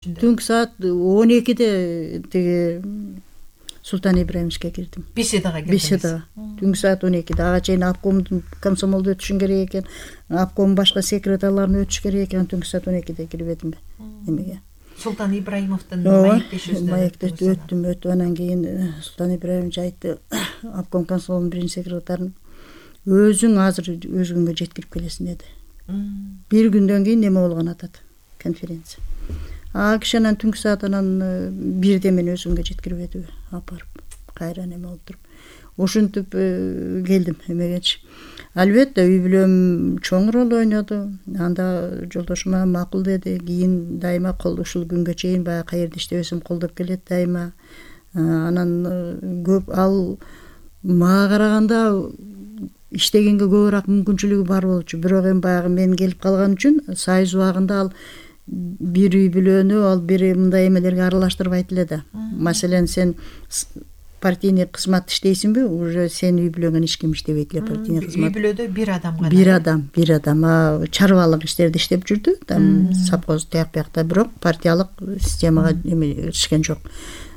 Түнкү саат 12-де тиги Султан Ибраимовичке кирдим. Беседага кирдиңиз. Беседага. Түнкү саат 12-де. Ага чейин обкомдун комсомолду өтүшүң керек экен. Обком башка секретарларын өтүш керек экен. Түнкү саат 12-де кирип едим эмеге. Султан Ибраимовдун маектешүүсүнөн маектешти өттүм. Анан кийин Султан Ибраимович айтты, обком комсомолдун биринчи секретарын өзүң азыр өз күнгө жеткирип келесиң деди. Бир күндөн кийин неме болгон атат конференция. Киши анан түнкү саат анан 1-де мен өзүмгө жеткирип едиби, апарып кайра неме болуп туруп. Ошентип келдим эмегечи. Албетте үй бүлөм чоң роль ойноду. Анда жолдошума макул деди. Кийин дайыма ушул күнгө чейин баягы каерде иштебесем колдоп келет дайыма. Анан көп ал мага караганда иштегенге көбүрөөк мүмкүнчүлүгү бар болчу. Бирок эми баягы мен келип калган үчүн союз убагында ал бир үй бүлөнү ал бир мындай эмелерге аралаштырбайт эле да. Маселен, сен партийный кызмат иштейсиңби, уже сен үй бүлөңөн эч ким иштебейт эле партийный кызмат. Үй бүлөдө бир адам гана. Бир адам. Чарбалык иштерди иштеп жүрдү. Там совхоз тияк биякта, бирок партиялык системага эметишкен жок.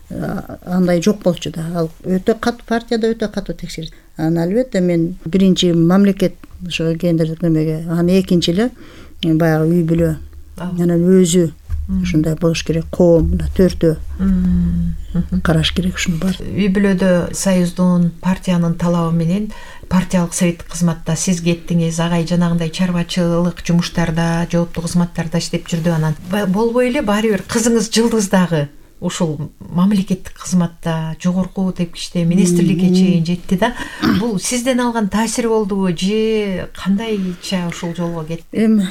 Андай жок болчу да. Ал өтө катуу партияда өтө катуу текшерет. Анан албетте мен биринчи мамлекет ошо гендердик немеге, анан экинчи эле баягы үй бүлө. Анан өзү ушундай болуш керек, коом мына төртөө караш керек ушуну бар. Үй бүлөдө союздун, партиянын талабы менен партиялык советтик кызматта сиз кеттиңиз, агай жанагындай чарбачылык жумуштарда, жооптуу кызматтарда иштеп жүрдү. Анан болбой эле баары бир кызыңыз Жылдыз дагы ушул мамлекеттик кызматта жогорку тепкичте министрликке чейин жетти да. Бул сизден алган таасир болдубу же кандайча ушул жолго кетти? Эми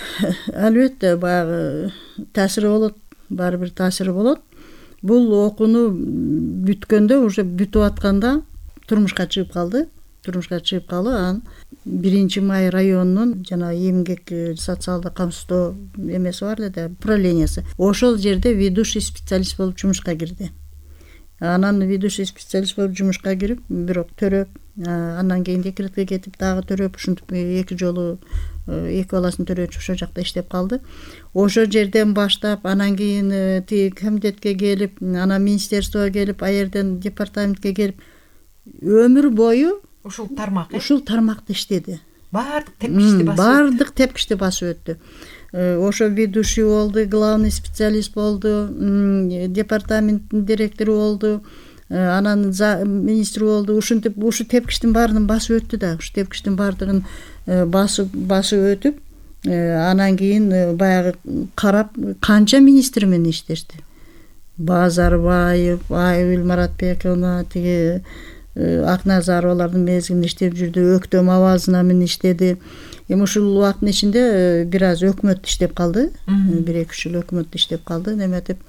албетте баягы таасири болот, баары бир таасири болот. Бул окууну бүткөндө, уже бүтүп атканда турмушка чыгып калды. Анан 1-Май районунун жана эмгек социалдык камсыздоо эмеси бар эле да, управлениясы. Ошол жерде ведущий специалист болуп жумушка кирди. Анан ведущий специалист болуп жумушка кирип, бирок төрөп, андан кийин декретке кетип, дагы төрөп, ушинтип 2 жолу 2 баласын төрөчү ошол жакта иштеп калды. Ошол жерден баштап, анан кийин тиги комитетке келип, анан министерствого келип, аерден департаментке келип, өмүр бою ушул тармак, ушул тармакта иштеди. Баардык тепкичти басып өттү. Ошо ведущий болду, главный специалист болду, департаменттин директору болду, анан министр болду. Ушинтип ушу тепкичтин баарын басып өттү да. Ушу тепкичтин баардыгын басып өтүп, анан кийин баягы карап канча министр менен иштешти. Базарбаев, Айгүл Маратбековна, тиги Акназаровалардын мезгилинде иштеп жүрдү, Өктөм Абазына менен иштеди. Эми ушул убакыттын ичинде бир аз өкмөт иштеп калды. 1-2 жыл өкмөт иштеп калды, неметип.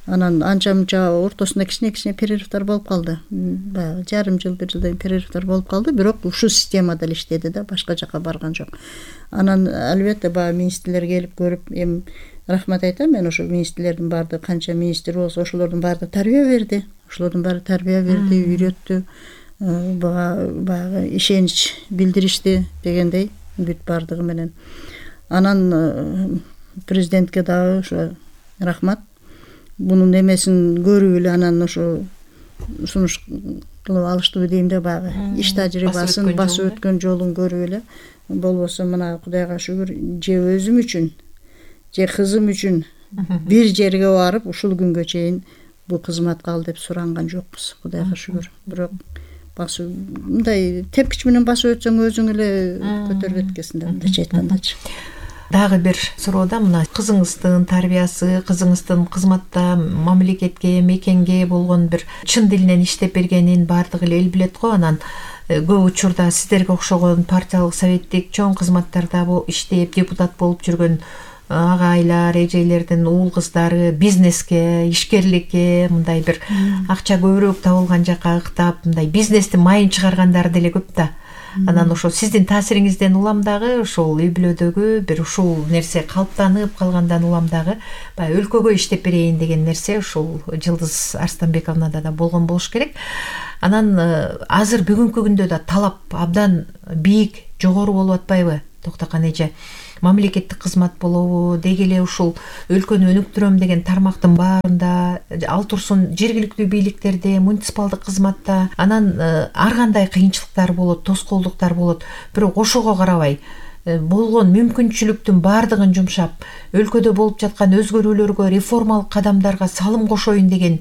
Анан анча-мынча ортосунда кичине перерывдар болуп калды. Баягы жарым жыл, 1 жылдай перерывдар болуп калды, бирок ушул системада эле иштеди да, башка жака барган жок. Анан албетте баягы министрлер келип көрүп, эми рахмат айтам, мен ошол министрлердин баардыгы канча министр болсо, ошолордун баардыгы тарбия берди. Үйрөттү. Баягы ишенич билдиришти дегендей, бүт баардыгы менен. Анан президентке дагы ошо рахмат. Бунун эмесин көрүп эле анан ошо сунуш кылып алыштыбы дейм да, баягы иш тажрыйбасын басып өткөн жолун көрүп эле. Болбосо мына Кудайга шүгүр, же өзүм үчүн, же кызым үчүн бир жерге барып ушул күнгө чейин бул кызматка ал деп суранган жокпуз, Кудайга шүгүр. Бирок басып мындай тепкич менен басып өтсөң өзүң эле көтөрүп эткесиң да, мындайча айткандачы. Дагы бир суроода мына кызыңыздын тарбиясы, кызыңыздын кызматта мамлекетке, мекенге болгон бир чын дилинен иштеп бергенин баардыгы эле эл билет го. Анан көп учурда сиздерге окшогон партиялык советтик чоң кызматтарда иштеп депутат болуп жүргөн агайлар, эжелердин уул кыздары бизнеске, ишкерликке, мындай бир акча көбүрөөк табылган жака ыктап, мындай бизнестин майын чыгаргандары деле көп да. Анан ошо сиздин таасириңизден улам дагы ошол үй бүлөдөгү бир ушул нерсе калыптанып калгандан улам дагы баягы өлкөгө иштеп берейин деген нерсе ушул Жылдыз Арстанбековнада да болгон болуш керек. Анан азыр бүгүнкү күндө да талап абдан бийик, жогору болуп атпайбы, Токтокан эже? мамлекеттик кызмат болобу, деги эле ушул өлкөнү өнүктүрөм деген тармактын баарында, ал турсун жергиликтүү бийликтерде, муниципалдык кызматта, анан ар кандай кыйынчылыктар болот, тоскоолдуктар болот. Бирок ошого карабай болгон мүмкүнчүлүктүн баардыгын жумшап, өлкөдө болуп жаткан өзгөрүүлөргө, реформалык кадамдарга салым кошоюн деген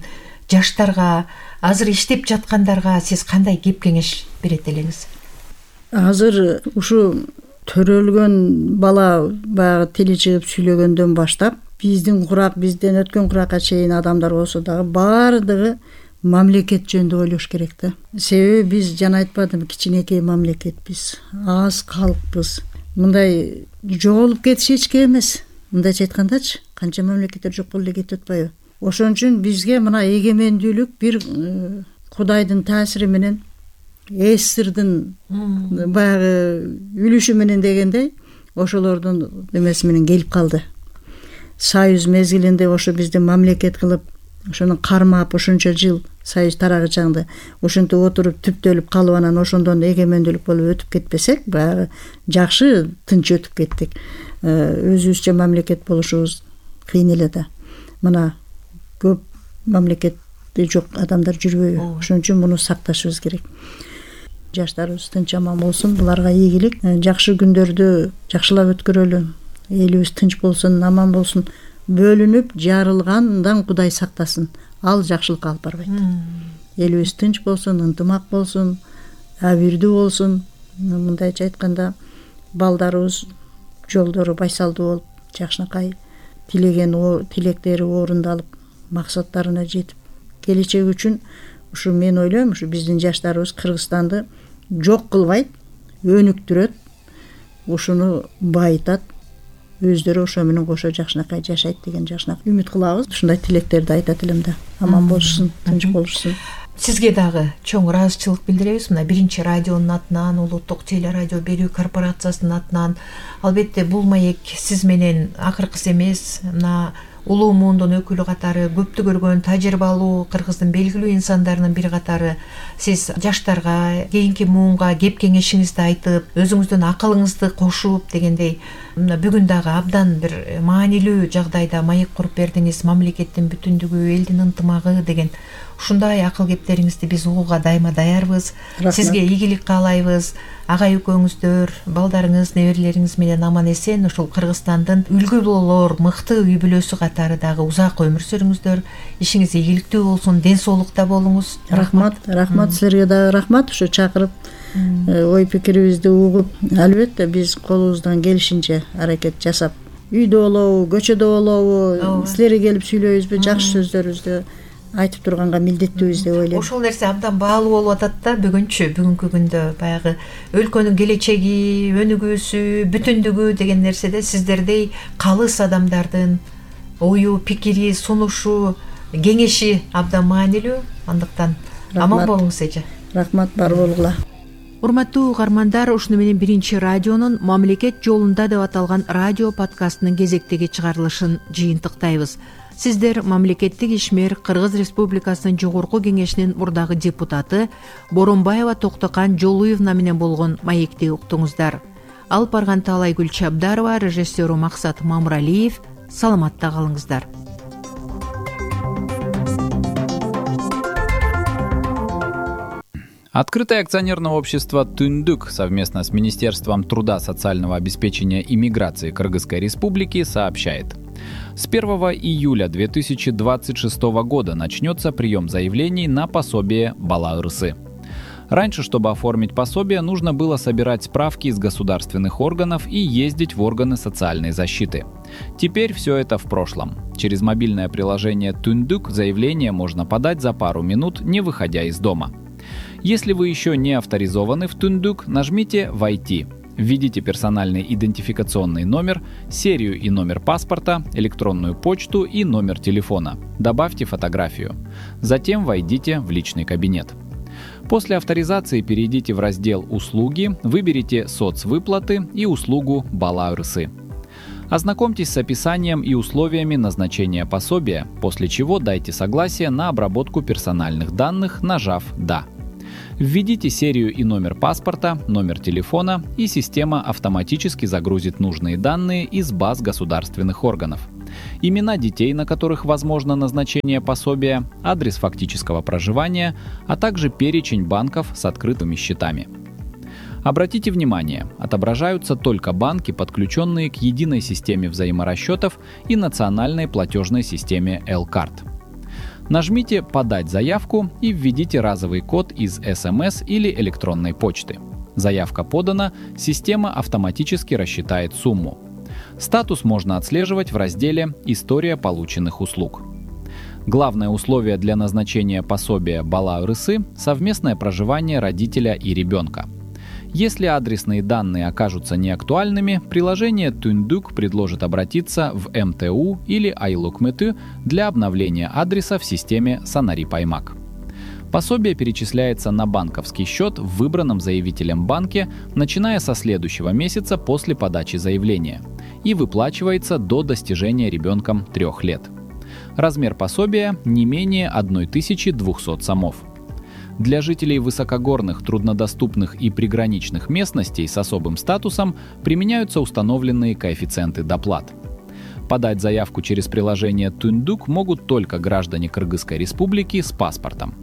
жаштарга, азыр иштеп жаткандарга сиз кандай кеп кеңеш берет элеңиз? Азыр ушу төрөлгөн бала баягы тили чыгып сүйлөгөндөн баштап бизден өткөн куракка чейин адамдар болсо дагы баардыгы мамлекет жөнүндө ойлош керек да. Себеби биз жана айтпадым, кичинекей мамлекетпиз, аз калкпыз. Мындай жоголуп кетиш эчке эмес. Мындайча айткандачы, канча мамлекеттер жок болуп эле кетип атпайбы? Ошон үчүн бизге мына эгемендүүлүк бир Кудайдын таасири менен, эсирдин баягы үлүшү менен дегендей, ошолордун эмеси менен келип калды. Союз мезгилинде ошо бизди мамлекет кылып, ошону кармап ошончо жыл союз тарагычаңды ошентип отуруп түптөлүп калып, анан ошондон эгемендүүлүк болуп өтүп кетпесек, баягы жакшы тынч өтүп кеттик. Өзүбүзчө мамлекет болушубуз кыйын эле да. Мына көп мамлекетти жок адамдар жүрбөйбү. Ошон үчүн муну сакташыбыз керек. Жаштарыбыз тынч аман болсун, буларга ийгилик. Жакшы күндөрдү жакшылап өткөрөлү. Элибиз тынч болсун, аман болсун. Бөлүнүп жарылгандан Кудай сактасын. Ал жакшылыкка алып барбайт. Элибиз тынч болсун, ынтымак болсун, абийирдүү болсун. Мындайча айтканда, балдарыбыз жолдору байсалдуу болуп, жакшынакай тилеген тилектери орундалып, максаттарына жетип, келечек үчүн ушу мен ойлойм, ушу биздин жаштарыбыз Кыргызстанды жок кылбайт, өнүктүрөт, ушуну байытат, өздөрү ошо менен кошо жакшынакай жашайт деген жакшынакай үмүт кылабыз. Ушундай тилектерди айтат элем да. Аман болушсун, тынч болушсун. Сизге дагы чоң ыраазычылык билдиребиз. Мына биринчи радионун атынан, Улуттук телерадио берүү корпорациясынын атынан. Албетте бул маек сиз менен акыркысы эмес. Мына улуу муундун өкүлү катары, көптү көргөн, тажрыйбалуу Кыргыздын белгилүү инсандарынын бири катары сиз жаштарга, кийинки муунга кеп кеңешиңизди айтып, өзүңүздүн акылыңызды кошуп дегендей, бүгүн дагы абдан бир маанилүү жагдайда маек куруп бердиңиз. Мамлекеттин бүтүндүгү, элдин ынтымагы деген ушундай акыл кептериңизди биз угууга дайыма даярбыз. Сизге ийгилик каалайбыз. Агай экөөңүздөр, балдарыңыз, неберелериңиз менен аман эсен ушул Кыргызстандын үлгү болор мыкты үй бүлөсү катары дагы узак өмүр сүрүңүздөр. Ишиңиз ийгиликтүү болсун, ден соолукта болуңуз. Рахмат силерге дагы рахмат, ушу чакырып ой пикирибизди угуп, албетте биз колубуздан келишинче аракет жасап, үйдө болобу, көчөдө болобу, силерге келип сүйлөйбүзбү, жакшы сөздөрүбүздү айтып турганга милдеттүүбүз деп ойлойм. Ошол нерсе абдан баалуу болуп атат да бүгүнкү күндө баягы өлкөнүн келечеги, өнүгүүсү, бүтүндүгү деген нерседе сиздердей калыс адамдардын ою, пикири, сунушу, кеңеши абдан маанилүү. Андыктан аман болуңуз эже. Рахмат, бар болгула. Урматтуу угармандар, ушуну менен биринчи радионун Мамлекет жолунда деп аталган радио подкастынын кезектеги чыгарылышын жыйынтыктайбыз. Сиздер мамлекеттик ишмер Кыргыз Республикасынын Жогорку Кеңешинин мурдагы депутаты Боронбаева Токтокан Жолуевна менен болгон маекти уктуңуздар. Алып барган Таалайгүл Чабдарова, режиссеру Максат Мамыралиев. Саламатта калыңыздар. Открытое акционерное общество «Түндүк» совместно с Министерством труда, социального обеспечения и миграции Кыргызской Республики сообщает. С 1 июля 2026 года начнется прием заявлений на пособие Бала Ырысы. Раньше, чтобы оформить пособие, нужно было собирать справки из государственных органов и ездить в органы социальной защиты. Теперь все это в прошлом. Через мобильное приложение «Түндүк» заявление можно подать за пару минут, не выходя из дома. Если вы еще не авторизованы в «Түндүк», нажмите «Войти». Введите персональный идентификационный номер, серию и номер паспорта, электронную почту и номер телефона. Добавьте фотографию. Затем войдите в личный кабинет. После авторизации перейдите в раздел «Услуги», выберите «Соцвыплаты» и услугу «Бала Ырысы». Ознакомьтесь с описанием и условиями назначения пособия, после чего дайте согласие на обработку персональных данных, нажав «Да». Введите серию и номер паспорта, номер телефона, и система автоматически загрузит нужные данные из баз государственных органов. Имена детей, на которых возможно назначение пособия, адрес фактического проживания, а также перечень банков с открытыми счетами. Обратите внимание, отображаются только банки, подключенные к единой системе взаиморасчетов и национальной платежной системе L-Card. Нажмите «Подать заявку» и введите разовый код из СМС или электронной почты. Заявка подана, система автоматически рассчитает сумму. Статус можно отслеживать в разделе «История полученных услуг». Главное условие для назначения пособия Бала Ырысы – совместное проживание родителя и ребенка. Если адресные данные окажутся неактуальными, приложение Түндүк предложит обратиться в МТУ или Айлукмыту для обновления адреса в системе Санари Паймак. Пособие перечисляется на банковский счет в выбранном заявителем банке, начиная со следующего месяца после подачи заявления, и выплачивается до достижения ребенком 3 лет. Размер пособия не менее 1200 сомов. Для жителей высокогорных, труднодоступных и приграничных местностей с особым статусом применяются установленные коэффициенты доплат. Подать заявку через приложение Түндүк могут только граждане Кыргызской Республики с паспортом.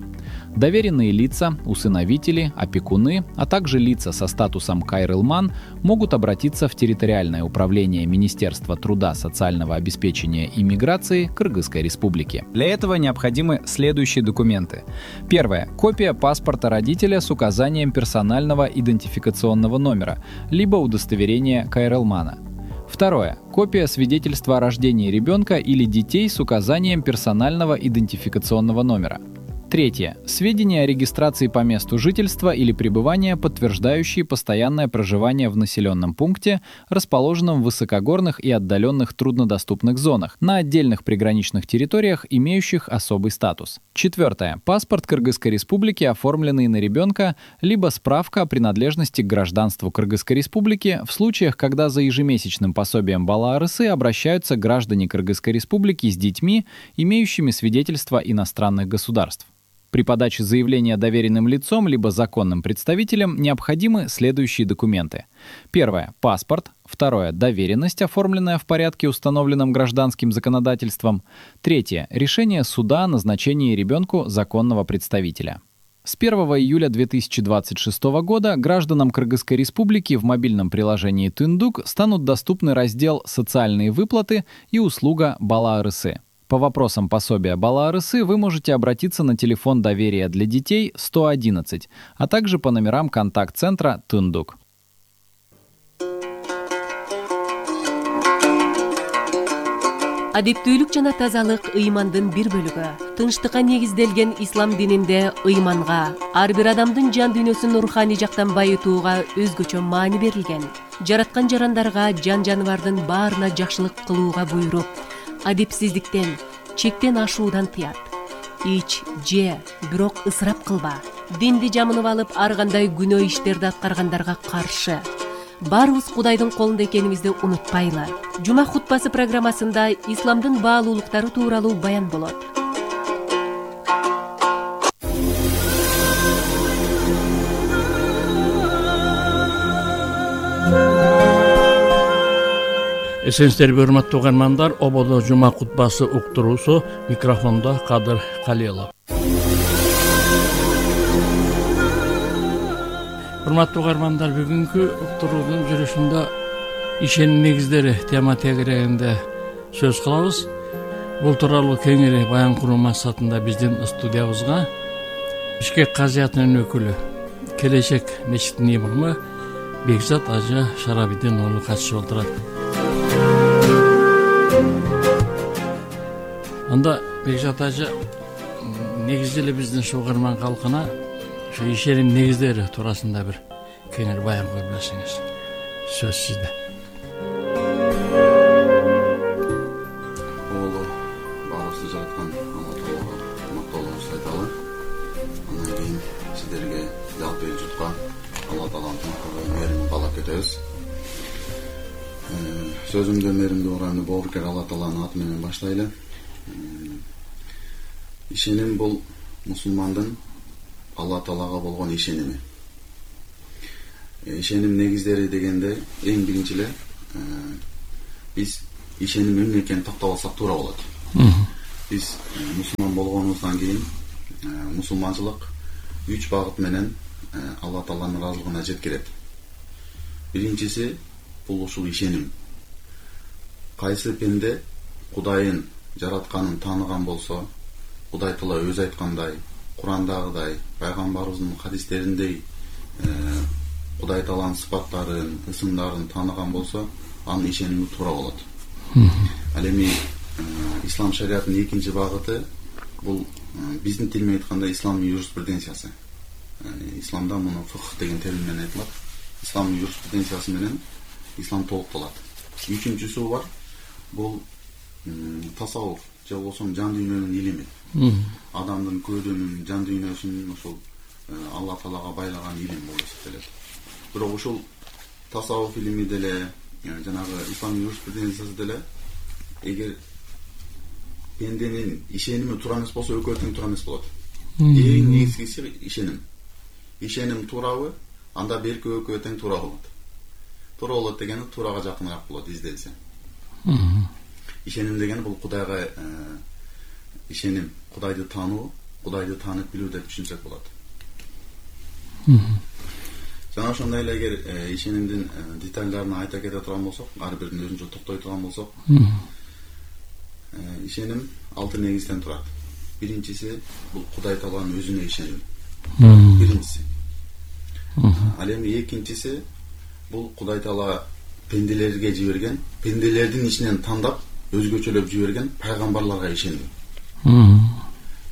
Доверенные лица, усыновители, опекуны, а также лица со статусом Кайрылман могут обратиться в территориальное управление Министерства труда, социального обеспечения и миграции Кыргызской Республики. Для этого необходимы следующие документы. Первое. Копия паспорта родителя с указанием персонального идентификационного номера, либо удостоверения Кайрылмана. Второе. Копия свидетельства о рождении ребенка или детей с указанием персонального идентификационного номера. Третье. Сведения о регистрации по месту жительства или пребывания, подтверждающие постоянное проживание в населенном пункте, расположенном в высокогорных и отдаленных труднодоступных зонах, на отдельных приграничных территориях, имеющих особый статус. Четвертое. Паспорт Кыргызской Республики, оформленный на ребенка, либо справка о принадлежности к гражданству Кыргызской Республики в случаях, когда за ежемесячным пособием Бала Ырысы обращаются граждане Кыргызской Республики с детьми, имеющими свидетельство иностранных государств. При подаче заявления доверенным лицом либо законным представителем необходимы следующие документы. Первое – паспорт. Второе – доверенность, оформленная в порядке, установленном гражданским законодательством. Третье – решение суда о назначении ребенку законного представителя. С 1 июля 2026 года гражданам Кыргызской Республики в мобильном приложении Түндүк станут доступны раздел «Социальные выплаты» и услуга Бала Ырысы. По вопросам пособия Бала Ырысы вы можете обратиться на телефон доверия для детей 111, а также по номерам контакт-центра Түндүк. Адептүүлүк жана тазалык ыймандын бир бөлүгү. Тынчтыкка негизделген ислам дининде ыйманга, ар бир адамдын жан дүйнөсүн руханий жактан байытууга өзгөчө маани берилген. Жараткан жарандарга, жан-жаныбардын баарына жакшылык кылууга буйруп, адепсиздиктен, чектен ашуудан тыят. Ич, же, бирок ысырап кылба. Динди жамынып алып, ар кандай күнөө иштерди аткаргандарга каршы. Баарыбыз Кудайдын колунда экенибизди унутпайлы. Жума хутбасы программасында исламдын баалуулуктары тууралуу баян болот. Эсенсиздерби, урматтуу угармандар, ободо жума кутбасы уктуруусу, микрофондо Кадыр Калилов. Урматтуу угармандар, бүгүнкү уктуруунун жүрүшүндө ишеним негиздери тема тегерегинде сөз кылабыз. Бул тууралуу кеңири баян куруу максатында биздин студиябызга Бишкек казиятынын өкүлү, Келечек мечитинин имамы Бекзат Ажы Шарабидин уулу катышып отурат. Анда Бекзат Ажы, негизи эле биздин угарман калкына ушу ишеним негиздери туурасында бир кеңири баян кылып берсеңиз. Сөз сизде. Оолу баарыбызды жараткан Алла Таалага мактоолорубузду айталы. Андан кийин сиздерге жалпы эл журтка Алла Тааланын мээрин каалап кетебиз. Сөзүмдү мээримдүү уранды боорукер Алла Тааланын аты менен баштайлы. Ишеним бул мусулмандын Алла Таалага болгон ишеними. Ишеним негиздери дегенде эң биринчи эле биз ишеним эмне экенин тактап алсак туура болот. Биз мусулман болгонубуздан кийин мусулманчылык 3 багыт менен Алла Тааланын ыраазылыгына жеткирет. Биринчиси бул ушул ишеним. Кайсы пенде Кудайын жаратканын тааныган болсо, Кудай Таала өзү айткандай, Курандагыдай, пайгамбарыбыздын хадистериндей Кудай Тааланын сыпаттарын, ысымдарын тааныган болсо, анын ишеними туура болот. Ал эми ислам шариятынын экинчи багыты бул биздин тил менен айтканда ислам юриспруденциясы. Исламда муну фикх деген термин менен айтылат. Ислам юриспруденциясы менен ислам толукталат. Үчүнчүсү бар. Бул тасаввуф же болбосо жан дүйнөнүн илими. Адамдын көзүнүн, жан дүйнөсүнүн ушул Алла Таалага байлаган илим болуп эсептелет. Бирок ушул тасаввуф илими деле, жанагы ислам юриспруденциясы деле эгер пенденин ишеними туура эмес болсо, экөө тең туура эмес болот. Эң негизгиси ишеним. Ишеним туурабы, анда берки экөө тең туура болот. Туура болот дегени туурага жакыныраак болот изделсе. Ишеним дегени бул Кудайга ишеним, Кудайды таануу, Кудайды таанып билүү деп түшүнсөк болот. Жана ошондой эле эгер ишенимдин детальдарын айта кете турган болсок, ар бирин өзүнчө токтой турган болсок, ишеним 6 негизден турат. Биринчиси бул Кудай Тааланын өзүнө ишеним. Биринчиси. Ал эми экинчиси бул Кудай Таала пенделерге жиберген, пенделердин ичинен тандап өзгөчөлөп жиберген пайгамбарларга ишеним.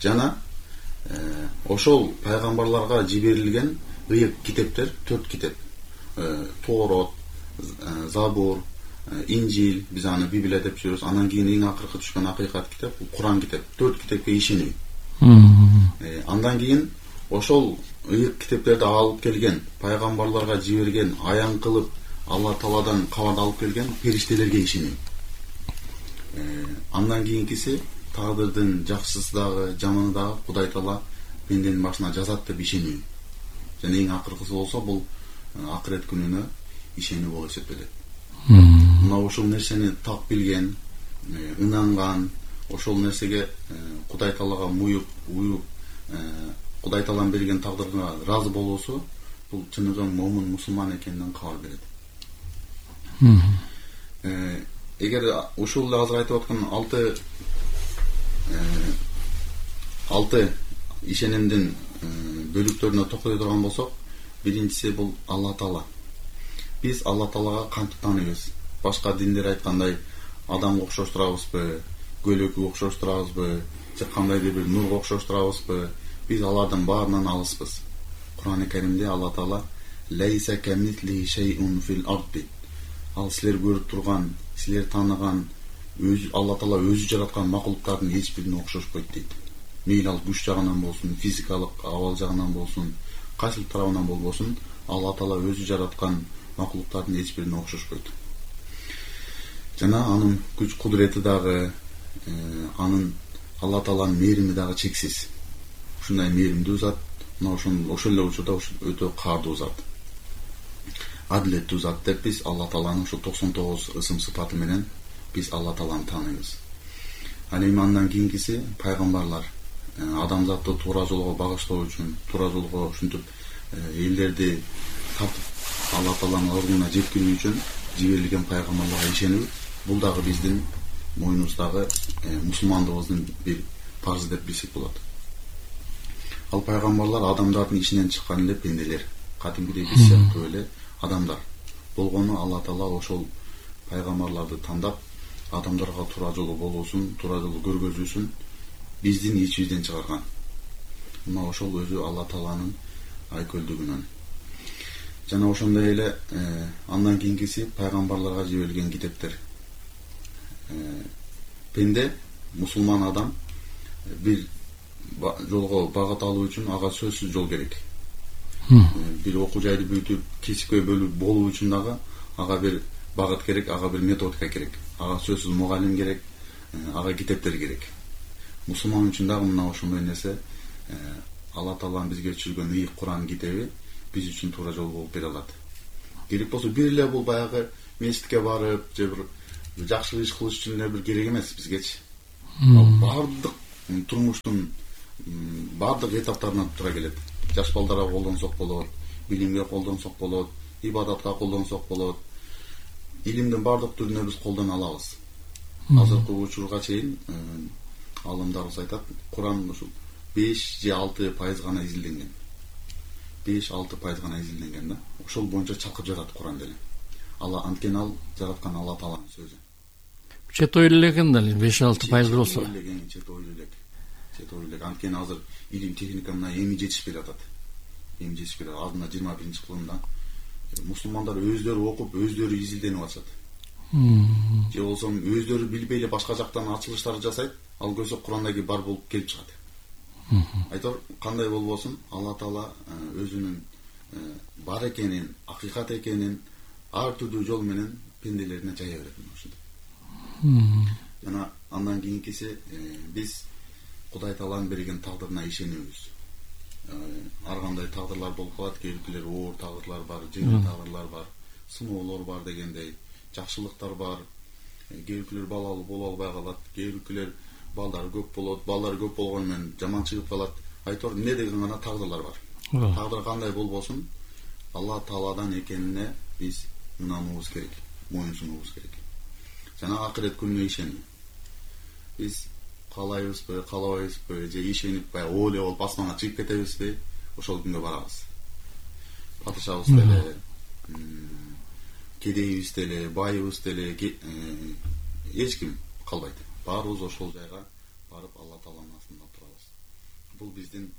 Жана ошол пайгамбарларга жиберилген ыйык китептер, 4 китеп. Тоорот, Забур, Инжил, биз аны Библия деп жүрөбүз. Андан кийин эң акыркы түшкөн акыйкат китеп, Куран китеп. 4 китепке ишеним. Андан кийин ошол ыйык китептерди алып келген, пайгамбарларга жиберген, аян кылып Алла Тааладан кабарды алып келген периштелерге ишеним. Андан кийинкиси тагдырдын жакшысы дагы, жаманы дагы Кудай Таала пенденин башына жазат деп ишеним. Жана эң акыркысы болсо бул акырет күнүнө ишенүү болуп эсептелет. Мына ошол нерсени так билген, ынанган, ошол нерсеге Кудай Таалага уюп, Кудай Тааланын берген тагдырга ыраазы болуусу бул чыныгы момун мусулман экенинен кабар берет. Эгер ушул азыр айтып аткан 6 ишенимдин бөлүктөрүнө токтой турган болсок, биринчиси бул Алла Таала. Биз Алла Таалага кантип тааныйбыз? Башка диндер айткандай адамга окшоштурабызбы, көлөккө окшоштурабызбы, же кандайдыр бир нурга окшоштурабызбы? Биз алардын баарынан алыспыз. Кур'ан-ы Каримде Алла Таала лейса камисли шейун фил арди. Ал силер көрүп турган, силер тааныган, Алла Таала өзү жараткан макулуктардын эч бирине окшошпойт дейт. Мейли ал күч жагынан болсун, физикалык абал жагынан болсун, кайсыл тарабынан болбосун, Алла Таала өзү жараткан макулуктардын эч бирине окшошпойт. Жана анын күч кудурети дагы, анын Алла Тааланын мээрими дагы чексиз. Ушундай мээримдүү зат, мына ошол эле учурда өтө каардуу зат. Адилеттүү зат деп биз Алла Тааланын ушул 99 ысым сыпаты менен биз Алла Тааланы тааныйбыз. Ал эми андан кийинкиси пайгамбарлар. Адамзатты туура жолго багыштоо үчүн, туура жолго ушинтип элдерди тартып Алла Тааланын ордуна жеткирүү үчүн жиберилген пайгамбарларга ишенүү, бул дагы биздин мойнубуздагы мусулмандыгыбыздын бир парзы деп билсек болот. Ал пайгамбарлар адамдардын ичинен чыккан эле пенделер, катимгидей биз сыяктуу эле адамдар болгону Алла Таала ошол пайгамбарларды тандап адамдарга туура жолу болуусун, туура жолу көргөзүүсүн биздин ичибизден чыгарган. Мына ошол өзү Алла Тааланын айкөлдүгүнөн. Жана ошондой эле андан кийинкиси пайгамбарларга жиберилген китептер. Пенде, мусулман адам бир жолго багыт алуу үчүн ага сөзсүз жол керек. Бир окуу жайды бүтүп, кесипке болуу үчүн дагы ага бир багыт керек, ага бир методика керек. Ага сөзсүз мугалим керек, ага китептер керек. Мусулман үчүн дагы мына ошондой нерсе Алла Тааланын бизге түшүргөн ыйык Куран китеби биз үчүн туура жол болуп бере алат. Керек болсо бир эле бул баягы мечитке барып же бир жакшы иш кылыш үчүн эле бир керек эмес бизгечи. Бардык турмуштун бардык этаптарынан тура келет. Жаш балдарга колдонсок болот, билимге колдонсок болот, ибадатка колдонсок болот. Илимдин бардык түрүнө биз колдоно алабыз. Азыркы учурга чейин алымдарыбыз айтат, Куран ушул 5 же 6% гана изилденген. 5-6% гана изилденген да. Ошол боюнча чалкып жатат Куран деле. Алла анткени ал жараткан Алла Тааланын сөзү. Чет ойлуу экен да 5-6% болсо. Чет ойлуу элек. Анткени азыр илим техника мына эми жетишпей атат. Алдына 21-кылымда мусулмандар өздөрү окуп, өздөрү изилденип атышат. Же болсо өздөрү билбей эле башка жактан ачылыштар жасайт, ал көрсө Курандагы бар болуп келип чыгат. Айтор кандай болбосун, Алла Таала өзүнүн бар экенин, акыйкат экенин ар түрдүү жол менен пенделерине жая берет ушундай. Жана андан кийинкиси биз Кудай Тааланын берген тагдырына ишенебиз. Ар кандай тагдырлар болуп калат, кээ оор тагдырлар бар, жеңил тагдырлар бар, сыноолор бар дегендей, жакшылыктар бар. Кээ балалуу боло албай калат, кээ балдары көп болот, балдары көп болгону менен жаман чыгып калат. Айтор эмне деген гана тагдырлар бар. Тагдыр кандай болбосун, Алла Тааладан экенине биз ынануубуз керек, моюн сунуубуз керек. Жана акырет күнүнө ишенүү. Биз каалайбызбы, каалабайбызбы, же ишенип ойлой болуп асманга чыгып кетебизби, ошол күнгө барабыз. Падышабыз деле, кедейибиз деле, байыбыз деле эч ким калбайт. Баарыбыз ошол жайга барып Алла Тааланын астында турабыз. Бул биздин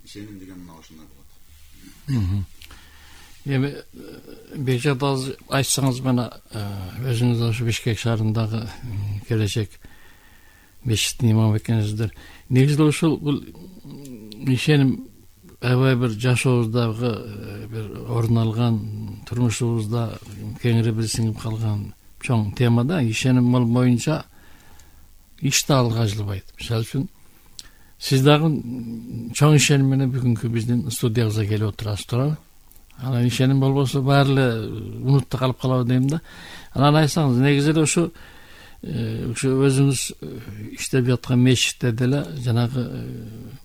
ишеним деген мына ошондой болот. Эми Бекжат айтсаңыз мына өзүңүз ошо Бишкек шаарындагы келечек мечиттин имамы экенсиздер. Негизи ушул бул ишеним аябай бир жашообуздагы бир орун алган, турмушубузда кеңири сиңип калган чоң тема да. Ишеним боюнча иш да алга жылбайт. Мисалы үчүн сиз дагы чоң ишеним менен бүгүнкү биздин студиябызга келип отурасыз, туурабы? Анан ишеним болбосо баары эле унутта калып калабы дейм да. Анан айтсаңыз, негизи эле ушу өзүңүз иштеп жаткан мечитте деле жанагы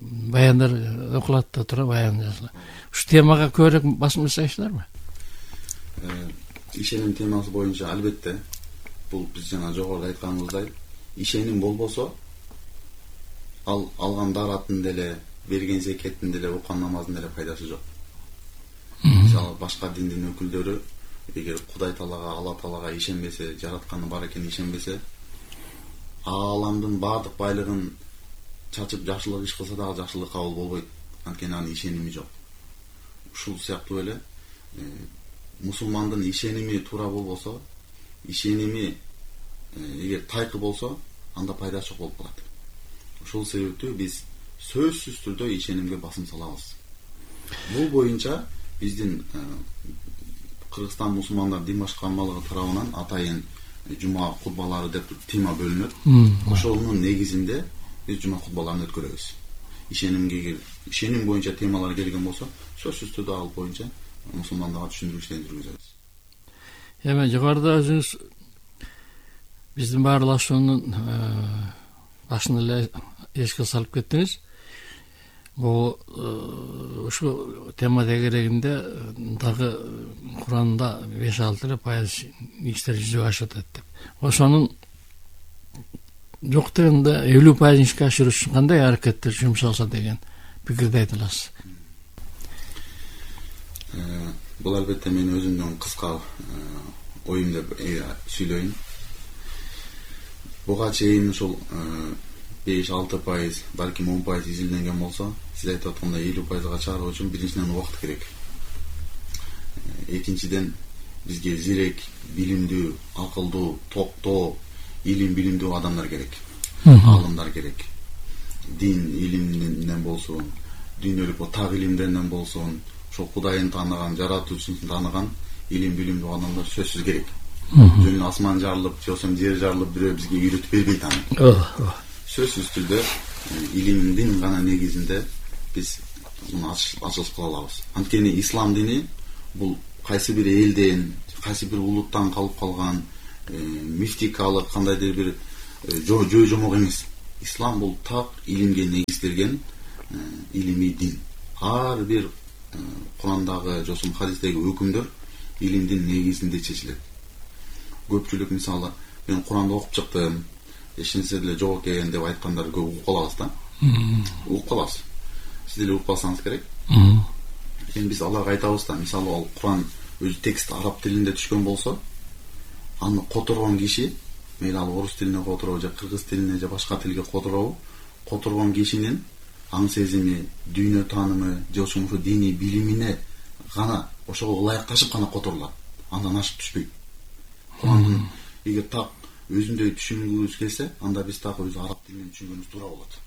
баяндар окулат да тура, баян жазылат. Ушу темага көбүрөөк басым жасайсыздарбы? Ишеним темасы боюнча албетте бул биз жана жогоруда айтканыбыздай, ишеним болбосо ал алган даратын деле, берген зекеттин деле, окуган намаздын деле пайдасы жок. Мисалы башка диндин өкүлдөрү эгер Кудай Таалага, Алла Таалага ишенбесе, жаратканы бар экенине ишенбесе, ааламдын бардык байлыгын чачып жакшылык иш кылса дагы жакшылык кабыл болбойт. Анткени анын ишеними жок. Ушул сыяктуу эле мусулмандын ишеними туура болбосо, ишеними эгер тайкы болсо, анда пайдасы жок болуп калат. Ушул себептүү биз сөзсүз түрдө ишенимге басым салабыз. Бул боюнча биздин Кыргызстан мусулмандар дин башкармалыгы тарабынан атайын жума кутбалары деп тема бөлүнөт. Ошонун негизинде биз жума кутбаларын өткөрөбүз. Ишеним боюнча темалар келген болсо, сөзсүз түрдө ал боюнча мусулмандарга түшүндүрүү иштери жүргүзөбүз. Эми жогоруда өзүңүз биздин баарлашуунун башын эле эске салып кеттиңиз. Бул ушу тема тегерегинде дагы Куранда 5-6% иштер жүзүгө ашып атат деп. Ошонун жок дегенде 50% ишке ашыруу үчүн кандай аракеттер жумшалса деген пикирди айта аласыз? Бул албетте мен өзүмдүн кыска оюм деп сүйлөйүн. Буга чейин ушул 5-6%, балким 10% изилденген болсо, сиз айтып аткандай 50%га чыгаруу үчүн биринчиден убакыт керек. Экинчиден бизге зирек, билимдүү, акылдуу, токтоо, илим билимдүү адамдар керек. Алымдар керек. Дин илиминен болсун, дүйнөлүк так илимдеринен болсун, ошо Кудайын тааныган, жаратуучусун тааныган илим билимдүү адамдар сөзсүз керек. Жөн асман жарылып, же болсо жер жарылып бирөө бизге үйрөтүп бербейт аны. Сөзсүз түрдө илимдин гана негизинде биз муну ачылыш кыла алабыз. Анткени ислам дини бул кайсы бир элден, кайсы бир улуттан калып калган мифтикалык кандайдыр бир жөө жомок эмес. Ислам бул так илимге негизделген илимий дин. Ар бир Курандагы же хадистеги өкүмдөр илимдин негизинде чечилет. Көпчүлүк мисалы мен Куранды окуп чыктым, эч нерсе деле жок экен деп айткандар көп угуп калабыз да. Угуп калабыз. Сиз деле угуп калсаңыз керек. Эми биз аларга айтабыз да, мисалы ал Куран өзү текст араб тилинде түшкөн болсо, аны которгон киши, мейли ал орус тилине которобу же кыргыз тилине же башка тилге которобу, которгон кишинин аң сезими, дүйнө таанымы же ошону диний билимине гана ошого ылайыкташып гана которулат. Андан ашып түшпөйт. Курандын эгер так өзүндөй түшүнгүбүз келсе, анда биз так өзү араб тилинен түшүнгөнүбүз туура болот.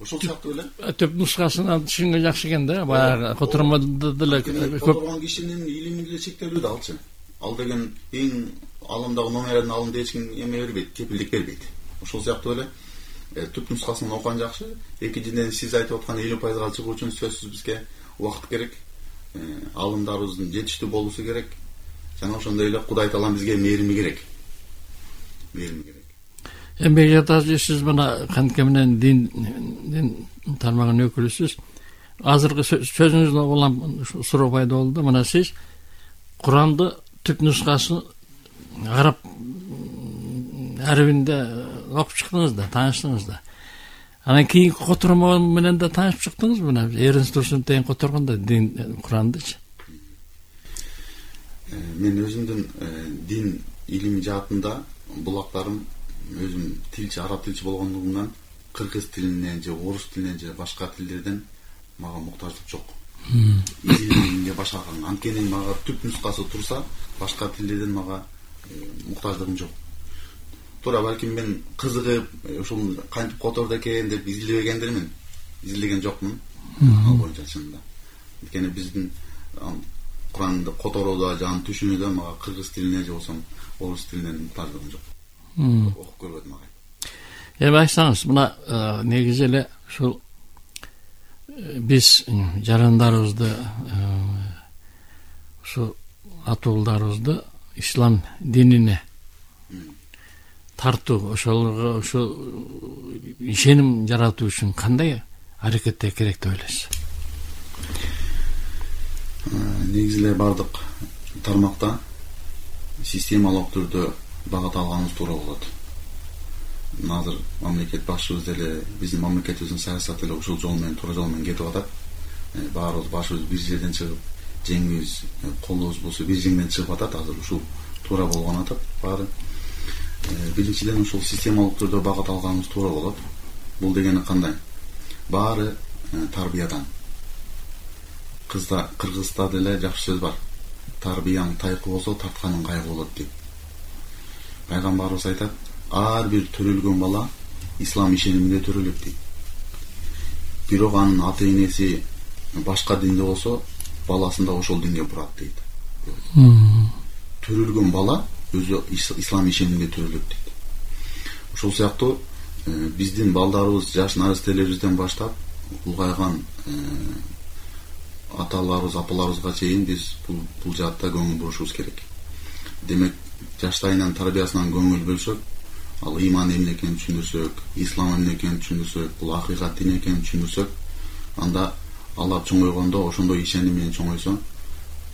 Ошол сыяктуу эле. Төп нускасынан түшүнгөн жакшы экен да. Баягы котормодо деле которгон кишинин илими деле чектелүү да алчы. Ал деген эң алымдагы номердин алымда эч ким эме бербейт, кепилдик бербейт. Ошол сыяктуу эле түп нускасын окуган жакшы. Экинчиден сиз айтып аткан 50%га чыгуу үчүн сөзсүз бизге убакыт керек. Алымдарыбыздын жетиштүү болуусу керек. Жана ошондой эле Кудай Таалам бизге мээрими керек. Мээрими керек. Эми жатасыз, сиз мына кантке менен дин тармагынын өкүлүсүз. Азыркы сөзүңүздөн улам суроо пайда болду. Мына сиз Куранды түп нускасын араб арабинде окуп чыктыңыз да, тааныштыңыз да. Анан кийинки котормо менен да таанышып чыктыңыз мына Эрнст Турсун тең которгондо дин Курандычы. Мен өзүмдүн дин илими жаатында булактарым өзүм тилчи, араб тилчи болгондугумдан кыргыз тилинен же орус тилинен же башка тилдерден мага муктаждык жок. Изилимге башкарган. Анткени мага түп нускасы турса, башка тилдерден мага муктаждыгым жок. Туура балким мен кызыгып, ошол кантип которду экен деп изилдебегендирмин. Изилдеген жокмун. Ал боюнча чынында. Анткени биздин Куранды которууда, жан түшүнүүдө мага кыргыз тилине же болсо орус тилинен муктаждыгым жок. Окуп көрбөдүм ага. Эми айтсаңыз, мына негизи эле ушул биз жарандарыбызды ушу атуулдарыбызды ислам динине тартуу, ошолорго ушу ишеним жаратуу үчүн кандай аракеттер керек деп ойлойсуз? Негизи эле бардык тармакта системалык түрдө багат алганыбыз туура болот. Азыр мамлекет башчыбыз деле биздин мамлекетибиздин саясаты эле ушул жол менен, туура жол менен кетип атат. Баарыбыз башыбыз бир жерден чыгып, жеңибиз, колубуз болсо бир жеңден чыгып атат. Азыр ушул туура болгон атат баары. Биринчиден ушул системалык түрдө багат алганыбыз туура болот. Бул дегени кандай? Баары тарбиядан. Кыргызда деле жакшы сөз бар. Тарбияң тайкы болсо, тартканың кайгы болот дейт. Пайгамбарыбыз айтат, ар бир төрөлгөн бала ислам ишениминде төрөлөт дейт. Бирок анын ата энеси башка динде болсо, баласын да ошол динге бурат дейт. Төрөлгөн бала өзү ислам ишениминде төрөлөт дейт. Ошол сыяктуу биздин балдарыбыз, жаш наристелерибизден баштап улгайган аталарыбыз, апаларыбызга чейин биз бул жаатта көңүл бурушубуз керек. Демек, жаштайынан тарбиясынан көңүл бөлсөк, ал иман эмне экенин түшүндүрсөк, ислам эмне экенин түшүндүрсөк, бул акыйкат дин экенин түшүндүрсөк, анда ала чоңойгондо ошондой ишеним менен чоңойсо,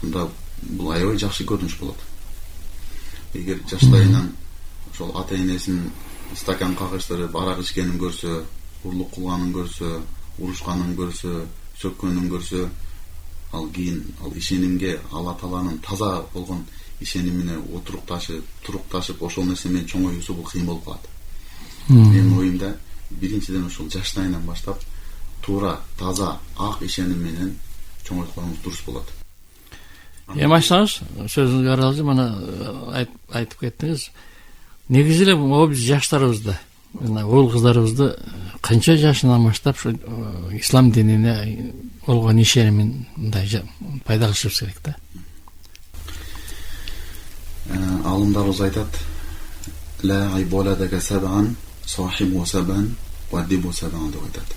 анда бул аябай жакшы көрүнүш болот. Эгер жаштайынан ошол ата энесин стакан кагыштырып, арак ичкенин көрсө, урлук кылганын көрсө, урушканын көрсө, сөккөнүн көрсө, ал кийин ал ишенимге, Алла Тааланын таза болгон ишенимине турукташып, ошол нерсе менен чоңоюусу бул кыйын болуп калат. Менин оюмда биринчиден ошол жаштайынан баштап туура, таза, ак ишеним менен чоңойтконубуз дурус болот. Эми айтсаңыз, сөзүңүзгө аралашып мына айтып кеттиңиз. Негизи эле биз жаштарыбызды, мына уул кыздарыбызды канча жашынан баштап ушу ислам динине болгон ишенимин мындай пайда кылышыбыз керек да. Алымдарыбыз айтат, ла айболадага сабан, сахибу сабан, вадибу сабан деп айтат.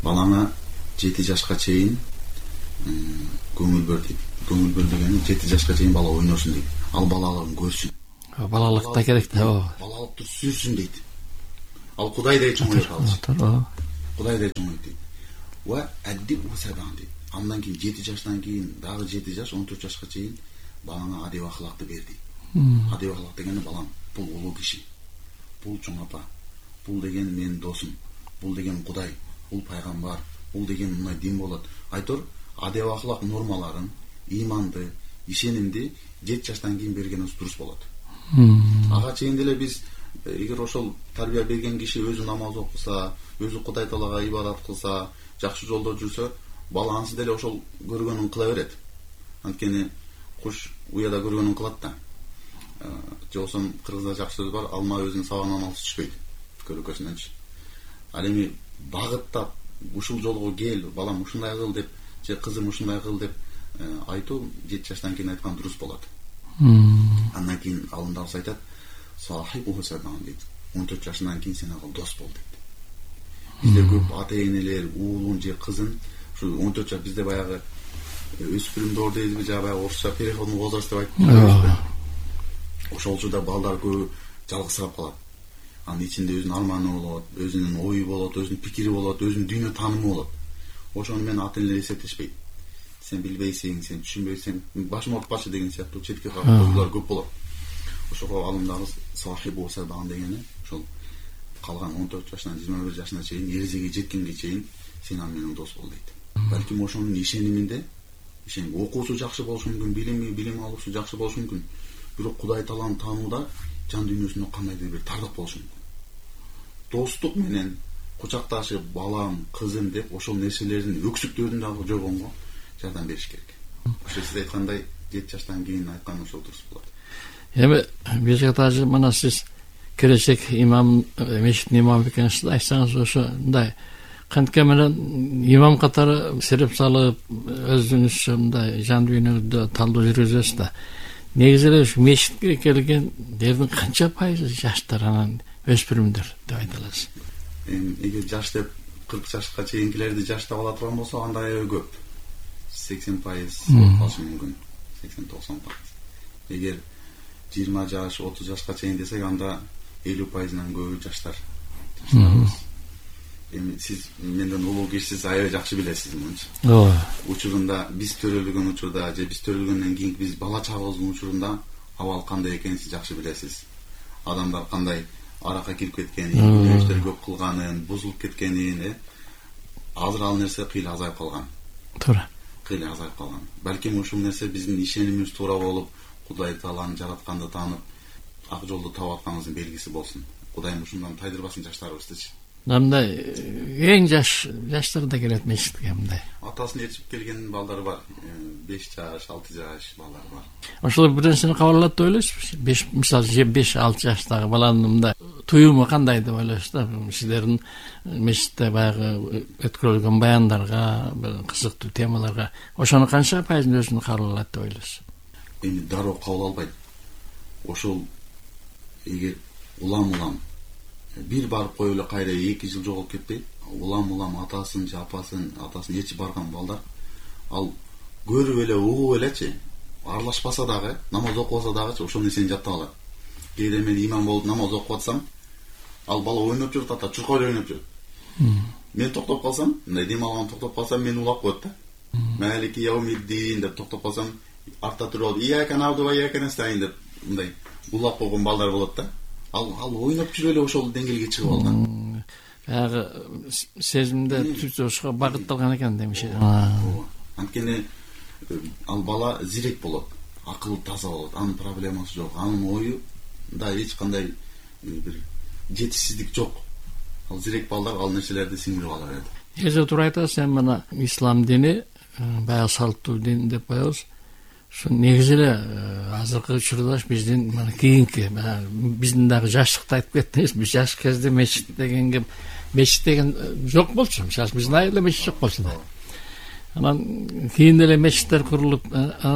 Балаңа 7 жашка чейин көңүл бөр дейт. Көңүл бөр дегени 7 жашка чейин бала ойносун дейт. Ал балалыгын көрсүн. Балалыкта керек да. Балалыкты сүйсүн дейт. Ал Кудайдай чоңойот алчы. Кудайдай чоңойот дейт. Ва адди усадан дейт. Андан кийин 7 жаштан кийин дагы 7 жаш 14 жашка чейин балаңа адеп акылакты бер дейт. Адеп акылак дегени балам бул улуу киши. Бул чоң апа. Бул деген менин досум. Бул деген Кудай. Бул пайгамбар. Бул деген мындай дин болот. Айтор адеп акылак нормаларын, иманды, ишенимди 7 жаштан кийин бергенибиз дурус болот. Ага чейин деле биз эгер ошол тарбия берген киши өзү намаз окуса, өзү Кудай Таалага ибадат кылса, жакшы жолдо жүрсө, бала ансы деле ошол көргөнүн кыла берет. Анткени куш уяда көргөнүн кылат да. Жоксо кыргызда жакшы сөз бар, алма өзүнүн сабагынан алыс түшпөйт. Көрөкөсүнөнчү. Ал эми багыттап ушул жолго кел, балам ушундай кыл деп, же кызым ушундай кыл деп айтуу 7 жаштан кийин айткан дурус болот. Андан кийин алымдарыбыз айтат, сахибу садан дейт. 14 жашынан кийин сен ага дос бол дейт. Бизде көп ата-энелер уулун же кызын ушу 14 жаш бизде баягы өспүрүмдөр дейбиз, же баягы орусча переходный возраст деп айтып. Ошол учурда балдар көп жалгызсырап калат. Анын ичинде өзүнүн арманы болот, өзүнүн ою болот, өзүнүн пикири болот, өзүнүн дүйнө таанымы болот. Ошону мен ата-энелер эсептешпейт. Сен билбейсиң, сен түшүнбөйсүң, башым оорутпачы деген сыяктуу четке коюлар көп болот. Ошого алымдарыбыз сахибу садан дегени ошол калган 14 жашынан 21 жашына чейин, эрезеге жеткенге чейин сен аны менен дос бол дейт. Балким ошонун ишениминде, окуусу жакшы болушу мүмкүн, билим алуусу жакшы болушу мүмкүн. Бирок Кудай Тааланы таанууда жан дүйнөсүндө кандайдыр бир тардык болушу мүмкүн. Достук менен кучакташып, балам, кызым деп ошол нерселердин өксүктөрүн дагы жогонго жардам бериш керек. Ошо сиз айткандай 7 жаштан кийин айткан ошол дурус болот. Эми бизге даже мына сиз келечек имам, мешіттің имамы екенсіз, айтсаңыз ошондай кантке менен имам катары сереп салып, өзүңүз мындай жан дүйнөдө талдоо жүргүзөсүз да. Негизи эле ушу мешитке келгендердин канча пайызы жаштар, анан өспүрүмдөр деп айта аласыз? Эгер жаш деп 40 жашка чейинкилерди жаш деп ала турган болсо, анда аябай көп. 80% болушу мүмкүн. 80-90%. Эгер 20 жаш, 30 жашка чейин десек, анда 50%-нан көбү жаштар. Эми сиз менден улуу кишисиз, аябай жакшы билесиз мынча. Учурунда биз төрөлгөн учурда, же биз төрөлгөндөн кийин биз бала чагыбыздын учурунда абал кандай экенин сиз жакшы билесиз. Адамдар кандай аракка кирип кеткенин, күнөөштөр көп кылганын, бузулуп кеткенин, азыр ал нерсе кыйла азайып калган. Туура. Кыйла азайып калган. Балким ушул нерсе биздин ишенимибиз туура болуп, Кудай Тааланы жаратканды таанып, ак жолду таап атканыбыздын белгиси болсун. Кудайым ушундан тайдырбасын жаштарыбыздычы. Мындай эң жаштар да келет мешитке мындай. Атасын ээрчип келген балдар бар. 5 жаш, 6 жаш балдар бар. Ошол бир нерсени кабыл алат деп ойлойсузбу? Мисалы 5-6 жаштагы баланын мындай туюму кандай деп ойлойсуз да? Сиздердин мешитте баягы өткөрүлгөн баяндарга, кызыктуу темаларга ошону канча пайызын өзүнө кабыл алат деп ойлойсуз? Эми дароо кабыл албайт. Ошол эгер улам бир барып коюп эле кайра 2 жыл жоголуп кетпей, улам атасын же апасын ээрчип барган балдар, ал көрүп эле, угуп элечи, аралашпаса дагы, намаз окубаса дагы ошол нерсени жаттап алат. Кээде мен имам болуп намаз окуп атсам, ал бала ойноп жүрүп атат, чуркай ойноп жүрүп. Мен токтоп калсам, мындай дем алган токтоп калсам, мен улап коет да. Малики яумиддин деп токтоп калсам, артта туруп алып, ияка набду ва ияка настаин деп мындай улап койгон балдар болот да. Ал ойноп жүрүп эле ошол деңгээлге чыгып алган. Баягы сезимде түзөшкө багытталган экен демеши. Анткени ал бала зирек болот, акылы таза болот, анын проблемасы жок, анын оюда эч кандай бир жетишсиздик жок. Ал зирек балдар ал нерселерди сиңирип ала берет. Эже туура айтасыз, сен мына ислам дини баягы салттуу дин деп коебуз. Şu негизи азыркы учурда биздин мына кийинки биздин дагы жаштыкты айтып кеттиңиз. Биз жаш кезде мешит деген жок болчу. Мисалы биздин айылда мешит жок болчу да. Анан кийин эле мешиттер курулуп,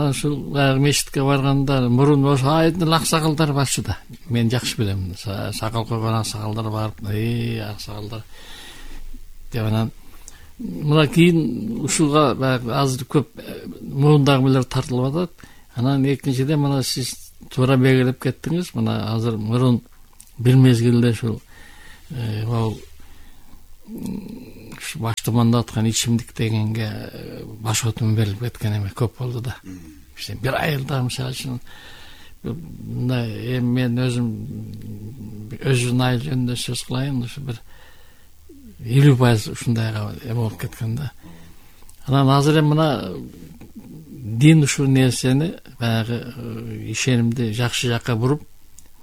ушул баягы мешитке барганда мурун ошо айдын аксакалдар барчу да. Мен жакшы билем. Сакал койгон аксакалдар барып, аксакалдар деп анан мына кийин ушуга баягы азыр көп мурдагы тартылып атат. Анан экинчиден мына сиз туура белгилеп кеттиңиз. Мына азыр мурун бир мезгилде ушул баштаманда аткан ичимдик дегенге баш отун берилип кеткен эме көп болду да. Бир айылда мисалы үчүн мындай мен өзүм айыл жөнүндө сөз кылайын, ушу бир 50% ушундайга эме болуп кеткен да. Анан азыр эми мына дин ушул нерсени баягы ишенимди жакшы жакка буруп,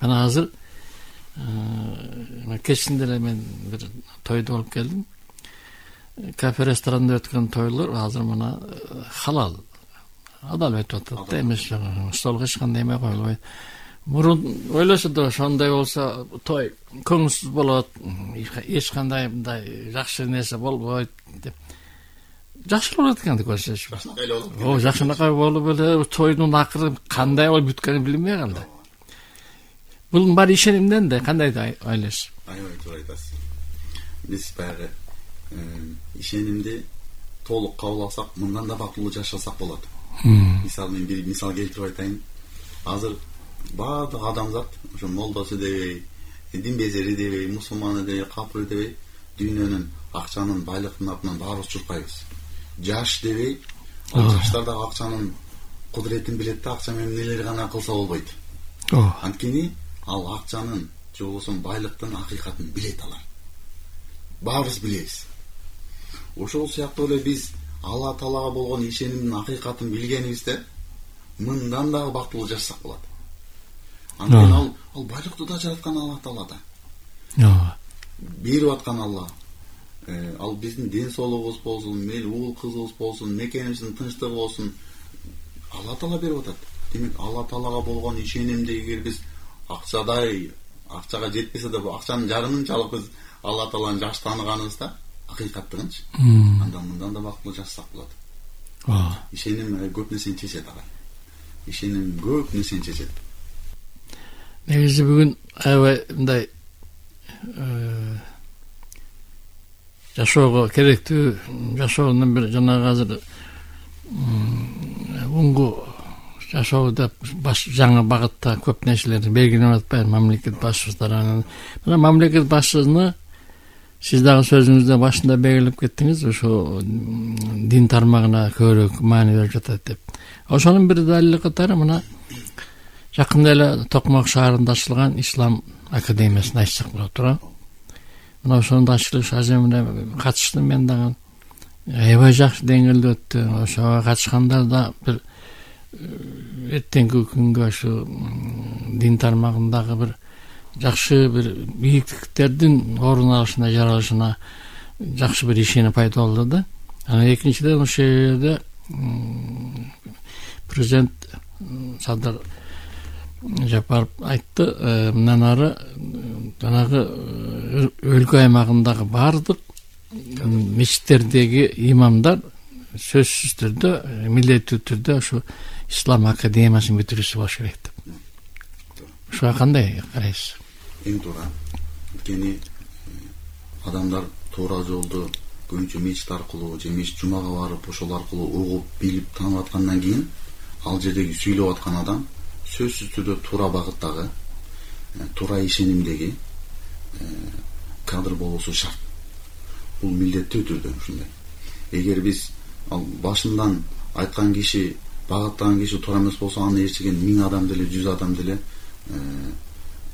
мына азыр кечинде эле мен бир тойдо болуп келдим. Кафе ресторанда өткөн тойлор азыр мына халал адал өтүп атат да, эмес столго эч кандай эме коюлбайт. Мурун ойлошо да ошондой болсо той көңүлсүз болот, эч кандай мындай жакшы нерсе болбойт деп. Жакшы болот экен деп көрсөчү. Жакшынакай болуп эле тойдун акыры кандай болуп бүткөнүн билинбей калды. Бул баары ишенимден да, кандай ойлойсуз? Аябай туура айтасыз. Биз баягы ишенимди толук кабыл алсак, мындан да бактылуу жашасак болот. Мисалы мен бир мисал келтирип айтайын. Азыр баардык адамзат, ошо молдосу дебей, динбезери дебей, мусулманы дебей, капыры дебей, дүйнөнүн, акчанын, байлыктын атынан баарыбыз чуркайбыз. Жаш дебей, жаштар да акчанын кудуретин билет да, акча менен нелер гана кылса болбойт. Анткени ал акчанын же болбосо байлыктын акыйкатын билет алар. Баарыбыз билебиз. Ошол сыяктуу эле биз Алла Таалага болгон ишенимдин акыйкатын билгенибизде мындан дагы бактылуу жашасак болот. Анткени ал байлыкты да жараткан Алла Таала да. Берип аткан Алла. Ал биздин ден соолугубуз болсун, мел уул кызыбыз болсун, мекенибиздин тынчтыгы болсун, Алла Таала берип атат. Демек Алла Таалага болгон ишенимди эгер биз акчага жетпесе да акчанын жарымынчалык биз Алла Тааланы жакшы тааныганыбызда акыйкаттыгынчы, андан мындан да бактылуу жашасак болот. Ишеним көп нерсени чечет ага. Ишеним көп нерсени чечет. Негизи бүгүн аябай мындай жашоого керектүү, жашоонун бир жанагы азыр бунгу жашоодо жаңы багытта көп нерселерди белгилеп атпайбы мамлекет башчылары. Мына мамлекет башчысына сиз дагы сөзүңүздө башында белгилеп кеттиңиз, ошо дин тармагына көбүрөөк маани берип жатат деп. Ошонун бир далили катары мына жакында эле Токмок шаарында ачылган Ислам академиясын айтсак болот туура. Мына ошонун ачылыш аземине катыштым мен дагы. Аябай жакшы деңгээлде өттү. Ошого катышкандар да бир эртеңки күнгө ошо дин тармагындагы бир жакшы бир бийиктиктердин орун алышына, жаралышына жакшы бир ишеним пайда болду да. Анан экинчиден ошол жерде президент Садыр Жапаров айтты, мындан ары жанагы өлкө аймагындагы баардык мечиттердеги имамдар сөзсүз түрдө, милдеттүү түрдө ошо Ислам академиясын бүтүрүүсү болуш керек деп. Ушуга кандай карайсыз? Эң туура. Анткени адамдар туура жолду көбүнчө мечит аркылуу же мечит жумага барып ошол аркылуу угуп, билип, таанып аткандан кийин ал жердеги сүйлөп аткан адам сөзсүз түрдө туура багыттагы, туура ишенимдеги кадр болуусу шарт. Бул милдеттүү түрдө ушундай. Эгер биз ал башынан айткан киши, багыттаган киши туура эмес болсо, аны ээрчиген 1000 адам деле, 100 адам деле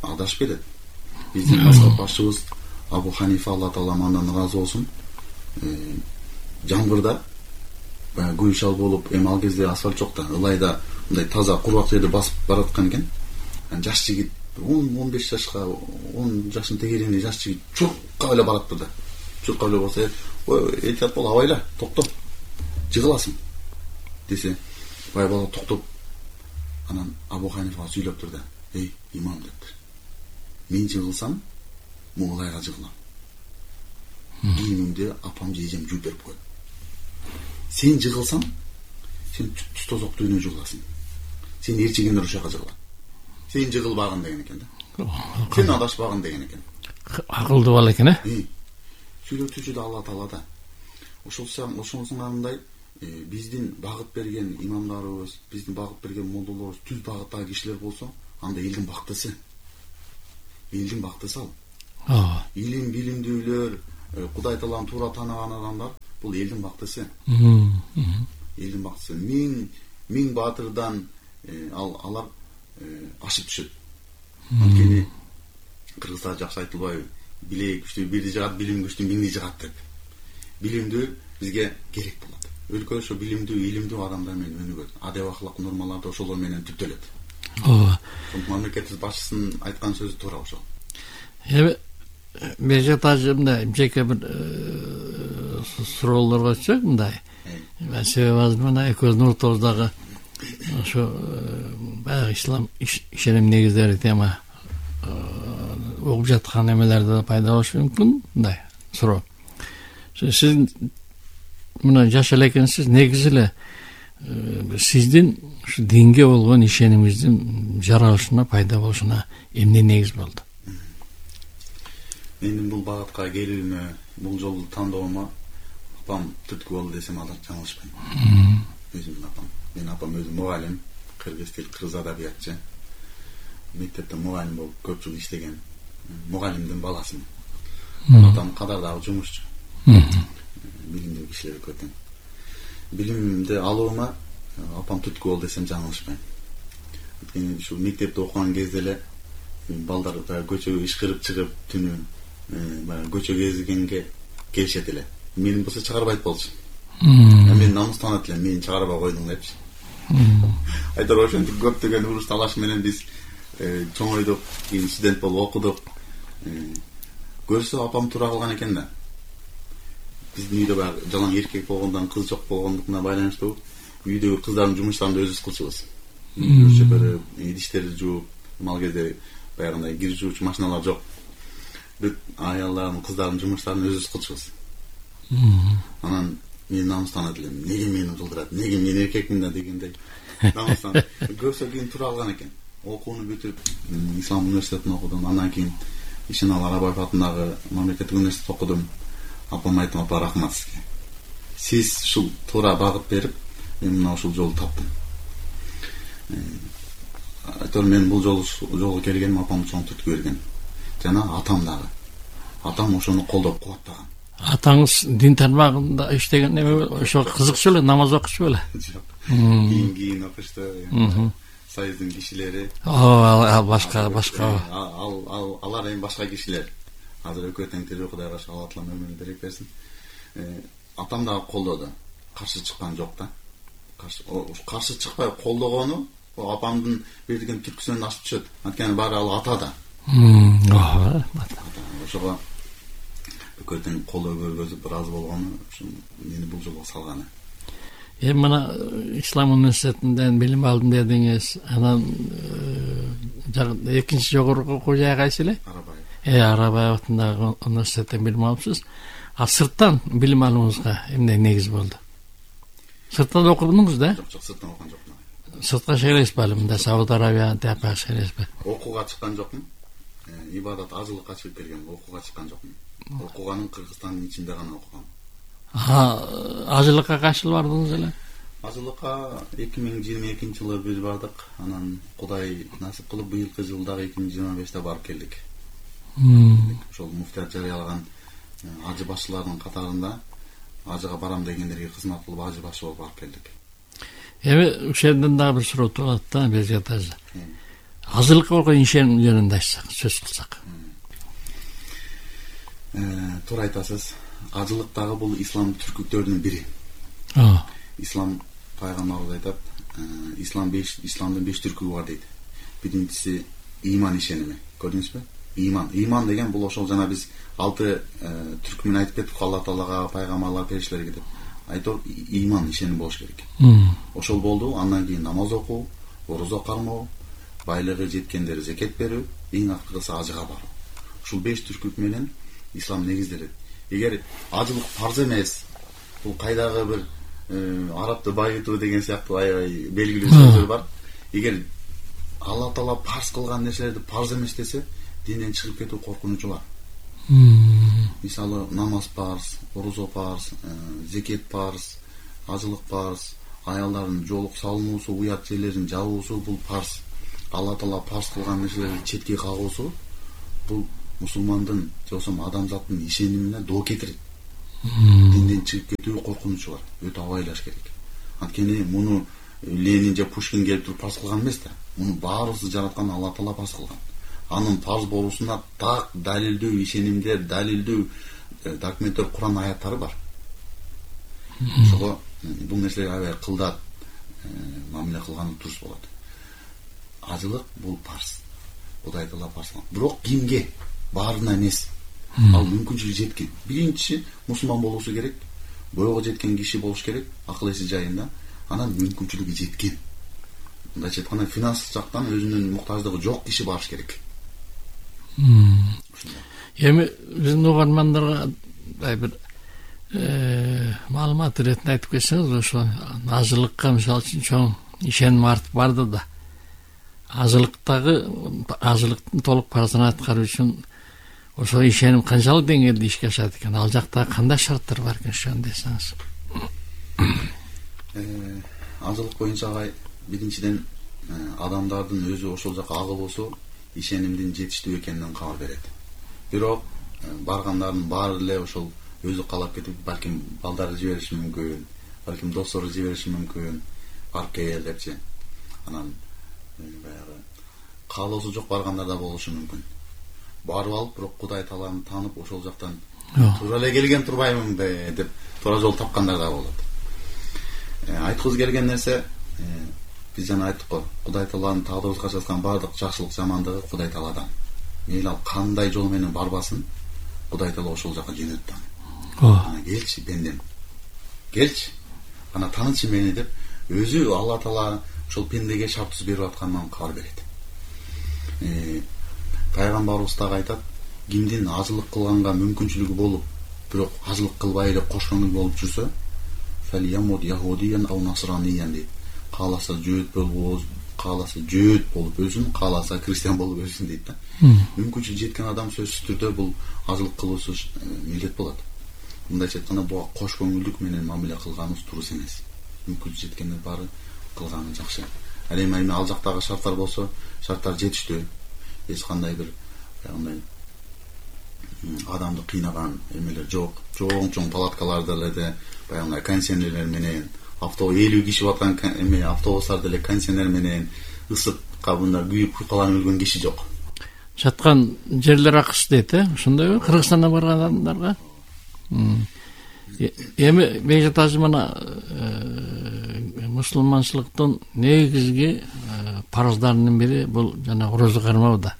адашып кетет. Биздин мазхаб башчыбыз Абу Ханифа, Алла Таала андан ыраазы болсун, жамгырда баягы гүл шал болуп, эми ал кезде асфальт жок да, ылайда мындай таза кургак жерди басып бараткан экен. Жаш жигит 10-15 жашка, 10 жаштын тегерегинде жаш жигит чуркап эле баратты да. Чуркап эле барса, "Ой, этият бол, абайла, токто. Жыгыласың" десе, бай бала токтоп, анан Абу Ханифага сүйлөп турду. "Эй, имам" дептир. "Мен жыгылсам, муулайга жыгылам. Кийимимди апам же эжем жууп берип койду. Сен жыгылсаң, сен түз тозок үйүнө жыгыласың. Сен ээрчигендер ошол жака жыгылат. Сен жыгылбагын" деген экен да. Сен адашпагын деген экен. Акылдуу бала экен, Сүйлөтүүчү да Алла Таала да. ошонусуңандай биздин багыт берген имамдарыбыз, биздин багыт берген молдолорубуз түз багыттагы кишилер болсо, анда элдин бактысы. Элдин бактысы ал. Илим билимдүүлөр, Кудай Тааланы туура тааныган адамдар бул элдин бактысы. Элдин бактысы. Миң баатырдан алар ашып түшөт. Анткени кыргызда жакшы айтылбайбы? Билек күчтүү бирди жыгат, билим күчтүү миңди жыгат деп. Билимдүү бизге керек болот. Өлкө ошо билимдүү, илимдүү адамдар менен өнүгөт. Адеп акылык нормаларды ошолор менен түптөлөт. Мамлекетибиз башчысынын айткан сөзү туура ошол. Бежат ажымда жеке бир суроолорго чык мындай. Себеби мына экөөбүздүн ортобуздагы ошо баягы ислам ишеним негиздери тема угуп жаткан эмелерде пайда болушу мүмкүн. Мындай суроо. Сиз мына жаш эле экенсиз, негизи эле сиздин ушу динге болгон ишенимиңиздин жаралышына, пайда болушуна эмне негиз болду? Менин бул багытка келүүмө, бул жолду тандоомо апам түрткү болду десем ада жаңылышпайм. Өзүмдүн апам. Менин апам өзү мугалим, кыргыз тил, кыргыз адабиятчы. Мектепте мугалим болуп көп жыл иштеген. Мугалимдин баласымын. Атам кадардагы жумушчу. Билимдүү кишилер көтөн. Билимди алуума апам түрткү болду десем жаңылышпайм. Анткени ушу мектепте окуган кезде эле балдар көчөгө ишкырып чыгып түнү баягы көчө кезгенге келишет эле. Менин болсо чыгарбайт болчу. Мен намыстанат элем, мени чыгарбай койдуң депчи. Айтор ошентип көптөгөн уруш талаш менен биз чоңойдук, кийин студент болуп окудук. Көрсө апам туура кылган экен да. Биздин үйдө баягы жалаң эркек болгондон, кыз жок болгондугуна байланыштуу үйдөгү кыздардын жумуштарын өзүбүз кылчубуз. Чөпөрүп, идиштерди жууп, ал кезде баягындай кир жуучу машиналар жок. Бүт аялдардын, кыздардын жумуштарын өзүбүз кылчубуз. Анан мен намыстанат элем. Неге мени жылдырат? Неге мен эркекмин да дегендей. Намыстан. Көрсө кийин туура кылган экен. Окууну бүтүп, Ислам университетин окудум. Андан кийин Ишенал Арабаев атындагы мамлекеттик университетте окудум. Апам айттым, апа рахмат сизге. Сиз ушул туура багыт берип, мен мына ушул жолду таптым. Айтор мен бул жолго келгеним апам чоң түрткү берген. Жана атам дагы. Атам ошону колдоп кубаттаган. Атаңыз дин тармагында иштеген эме ошо кызыкчу эле, намаз окучу беле? Жок. Кийин окушту. Союздун кишилери. Башка. Алар эми башка кишилер. Азыр өкө тең тирүү Кудай башка Алла Таала өмүрүн берип берсин. Атам дагы колдоду. Каршы чыккан жок да. Каршы чыкпай колдогону апамдын берген түркүсүнөн ашып түшөт. Анткени баары ал атада. Ошого өкө тең колдоо көргөзүп ыраазы болгону мени бул жолго салганы. Мына Ислам университетинден билим алдым дедиңиз. Анан экинчи жогорку окуу жайы кайсы эле? Арабаев атындагы университеттен билим алыпсыз. Сырттан билим алууңузга эмне негиз болду? Сырттан окудуңуз да? Жок, сырттан окуган жокмун. Сыртка чыгасызбы алым да, Сауд Арабия тияка чыгасызбы? Окууга чыккан жокмун. Ибадат ажылыкка чыгып келгем, окууга чыккан жокмун. Окуганым Кыргызстандын ичинде гана окугам. Ажылыкка качы жыл бардыңыз эле? Ажылыкка 2022-жылы биз бардык. Анан Кудай насип кылып быйылкы жылдагы 2025-те барып келдик. Ошол муфтият жарыялаган ажы башчыларынын катарында ажыга барам дегендерге кызмат кылып ажы башы болуп барып келдик. Ошол жерден дагы бир суроо турат да, Бежат ажы. Ажылыкка болгон ишеним жөнүндө айтсак, сөз кылсак. Туура айтасыз. Ажылык дагы бул ислам түркүктөрүнүн бири. Ислам пайгамбарыбыз айтат, исламдын 5 түркүгү бар дейт. Биринчиси иман ишеними. Көрдүңүзбү? Иман деген бул ошол жана биз 6 түркү менен айтып кеттик, Алла Таалага, пайгамбарлар, периштелерге деп. Айтор иман ишеним болуш керек. Ошол болду. Андан кийин намаз окуу, орозо кармоо, байлыгы жеткендер зекет берүү, эң акыркысы ажыга баруу. Ушул 5 түркүк менен ислам негизделет. Эгер ажылык фарз эмес, бул кайдагы бир арабты байытуу деген сыяктуу аябай белгилүү сөздөр бар. Эгер Алла Таала фарз кылган нерселерди фарз эмес десе, динден чыгып кетүү коркунучу бар. мисалы намаз парыз, орозо парыз, зекет парыз, ажылык парыз, аялдардын жоолук салынуусу, уят жерлерин жабуусу бул парыз. Алла Таала парыз кылган нерселерди четке кагуусу бул мусулмандын же болбосо адамзаттын ишенимине доо кетирет. Динден чыгып кетүү коркунучу бар. Өтө абайлаш керек. Анткени муну Ленин же Пушкин келип туруп парыз кылган эмес да. Муну баарыбызды жараткан Алла Таала парыз кылган. Анын парыз болуусуна так далилдөө ишенимдер, далилдөө документтер, Куран аяттары бар. Ошого бул нерселерге аябай кылдат мамиле кылганы дурус болот. Ажылык бул парыз. Кудай Таала парыз кылган. Бирок кимге? Баарына эмес. Ал мүмкүнчүлүгү жеткен. Биринчи мусулман болуусу керек. Бойго жеткен киши болуш керек, акыл эси жайында. Анан мүмкүнчүлүгү жеткен. Мындайча айтканда финанс жактан өзүнүн муктаждыгы жок киши барыш керек. Эми биздин угармандарга бир маалымат иретинде айтып кетсеңиз, ошо ажылыкка мисалы үчүн чоң ишеним артып барды да. Ажылыктын толук парызын аткаруу үчүн ошо ишеним канчалык деңгээлде ишке ашат экен? Ал жакта кандай шарттар бар экен ошону десеңиз. Ажылык боюнча биринчиден адамдардын өзү ошол жака агылуусу ишенимдин жетиштүү экенинен кабар берет. Бирок баргандардын баары эле ошол өзү каалап кетип, балким балдарды жибериши мүмкүн, балким достору жибериши мүмкүн, барып кел депчи. Анан баягы каалоосу жок баргандар да болушу мүмкүн. Барып алып, бирок Кудай Тааланы таанып, ошол жактан туура эле келген турбаймынбы деп туура жол тапкандар да болот. Айткыбыз келген нерсе, биз жана айттык го, Кудай Тааланын тагдырыбызга жазган баардык жакшылык жамандыгы Кудай Тааладан. Мейли ал кандай жол менен барбасын, Кудай Таала ошол жака жөнөттү аны. Ана келчи пендем. Келчи. Ана таанычы мени деп өзү Алла Таала ошол пендеге шарт түзүп берип атканынан кабар берет. Пайгамбарыбыз дагы айтат, кимдин ажылык кылганга мүмкүнчүлүгү болуп, бирок ажылык кылбай эле кош көңүл болуп жүрсө, фалиямуд яхудиян ау насраниян дейт. Кааласа жөөт болуп өлсүн, кааласа христиан болуп өлсүн дейт да. Мүмкүнчүлүгү жеткен адам сөзсүз түрдө бул ажылык кылуусу милдет болот. Мындайча айтканда буга кош көңүлдүк менен мамиле кылганыбыз дурус эмес. Мүмкүнчүлүгү жеткендер баары кылганы жакшы. Ал эми ал жактагы шарттар болсо, шарттар жетиштүү. Эч кандай бир адамды кыйнаган эмелер жок. Чоң палаткаларда эле баягы кондиционерлер менен, 50 киши баткан автобустарда эле кондиционер менен ысык кабында күйүп куйкаланып өлгөн киши жок. Жаткан жерлер акыс дейт, ошондойбу? Кыргызстандан барган адамдарга? Эми бейжатажы мына мусулманчылыктын негизги парыздарынын бири бул жана орозо кармоо да.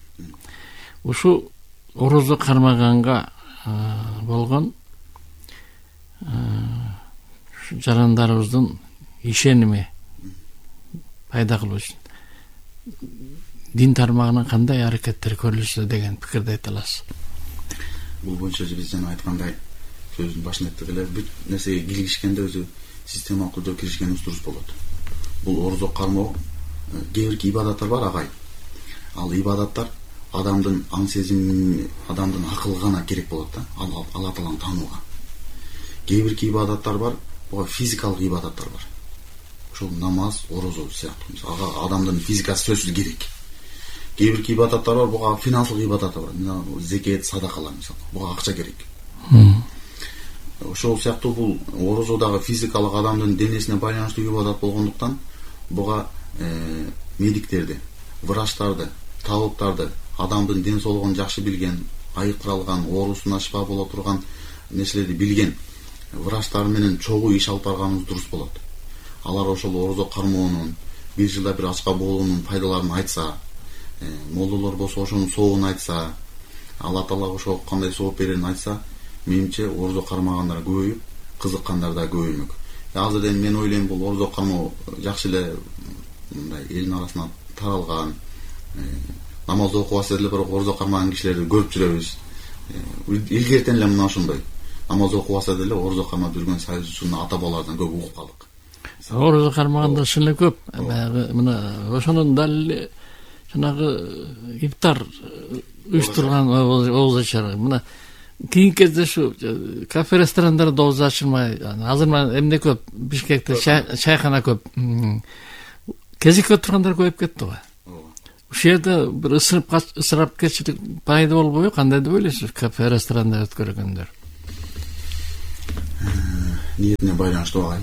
Ушу орозо кармаганга болгон жарандарыбыздын ишеними пайда кылуу үчүн дин тармагынан кандай аракеттер көрүлсө деген пикирди айта аласыз? Бул боюнча биз жана айткандай, сөздүн башында айттык эле, бүт нерсеге киришкенде өзү системалык түрдө киришкенибиз дурус болот. Бул орозо кармоо, кээ бир ибадаттар бар агай. Ал ибадаттар адамдын аң сезими, адамдын акылы гана керек болот да, Алла Тааланы таанууга. Кээ бир ибадаттар бар, буга физикалык ибадаттар бар. Ошол намаз, орозо сыяктуу. Ага адамдын физикасы сөзсүз керек. Кээ бир ибадаттар бар, буга финансылык ибадаттар бар. Зекет, садакалар мисалы. Буга акча керек. Ошол сыяктуу бул орозодагы физикалык адамдын денесине байланыштуу ибадат болгондуктан буга медиктерди, врачтарды, табыптарды, адамдын ден соолугун жакшы билген, айыктыралган, оорусуна шифа боло турган нерселерди билген врачтар менен чогуу иш алып барганыбыз дурус болот. Алар ошол орозо кармоонун, бир жылда бир ачка болуунун пайдаларын айтса, молдолор болсо ошонун сообун айтса, Алла Таала ошого кандай сооп берерин айтса, менимче орозо кармагандар көбөйүп, кызыккандар да көбөймөк. Азырда мен ойлойм, бул орозо кармоо жакшы эле мындай элдин арасына таралган, намаз окубаса эле бирок орозо кармаган кишилерди көрүп жүрөбүз. Илгертен эле мына ошондой. Намаз окубаса деле орозо кармап жүргөн саюзчунун ата бабалардан көп угуп калдык. Орозо кармагандар чын эле көп. Баягы мына ошонун далили жанагы ифтар уюштурган ооз ачар. Мына кийинки кезде ушу кафе ресторандарда оозу ачылмай, азыр эмне көп, Бишкекте чайкана көп, кезекке отургандар көбөйүп кетти го. Ушул жерде бир ысырапкерчилик пайда болбойбу? Кандай деп ойлойсуз кафе ресторанда өткөргөндөр? Ниетине байланыштуу агай.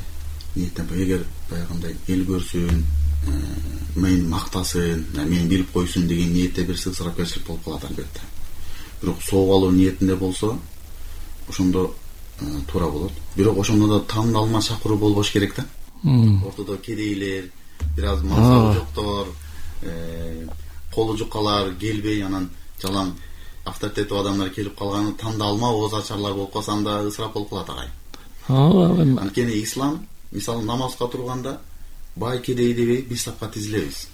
Ниеттен эгер баягындай эл көрсүн, мени мактасын, мени билип койсун деген ниетте берсе ысырапкерчилик болуп калат албетте. Бирок сооп алуу ниетинде болсо, ошондо туура болот. Бирок ошондо да тандалма чакыруу болбош керек да. Ортодо кедейлер, бир аз мансабы жоктор, колу жуккалар келбей, анан жалаң авторитеттүү адамдар келип калганы тандалма ооз ачарлар болуп калса, анда ысырап болуп калат агай. Анткени ислам, мисалы намазга турганда бай кедей дебей биз сапка тизилебиз.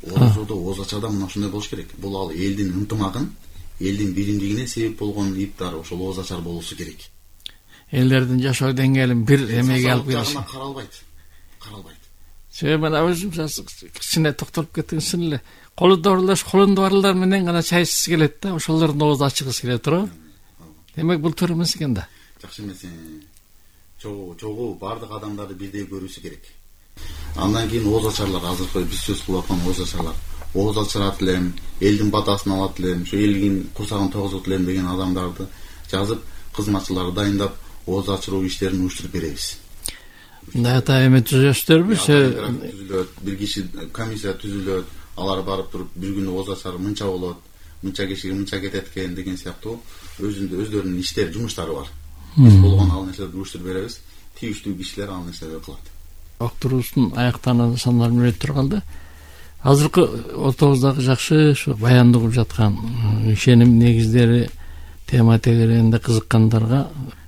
Оозодо ооз ачарда мына ушундай болуш керек. Бул ал элдин ынтымагын, элдин биримдигине себеп болгон иптар ошол ооз ачар болуусу керек. Элдердин жашоо деңгээлин бир эмеге алып келиш. Каралбайт. Мына өзүм кичине токтолуп кеткенсин эле. Колунда барлар менен гана чай ичкиси келет да, ошолордун оозу ачыгысы келет туурабы? Демек бул туура эмес экен да. Жакшы эмес. Чогуу бардык адамдарды бирдей көрүүсү керек. Андан кийин ооз ачарлар, азыркы биз сөз кылып аткан ооз ачарлар. Ооз ачырат элем, элдин батасын алат элем, ушу элдин курсагын тогузот элем деген адамдарды жазып, кызматчыларды дайындап, ооз ачыруу иштерин уюштуруп беребиз. Дата эме түзөсүздөрбү? Бир киши комиссия түзүлөт, алар барып туруп бир күнү ооз ачар мынча болот, мынча кишиге мынча кетет экен деген сыяктуу өздөрүнүн иштери, жумуштары бар. Биз болгон ал нерселерди уюштуруп беребиз. Тийиштүү кишилер ал нерселерди кылат. Октурубуздун аяктануу сандар мүнөттөр калды. Азыркы ортобуздагы жакшы ушу баяндоо кылып жаткан ишеним негиздери тема тегерегинде кызыккандарга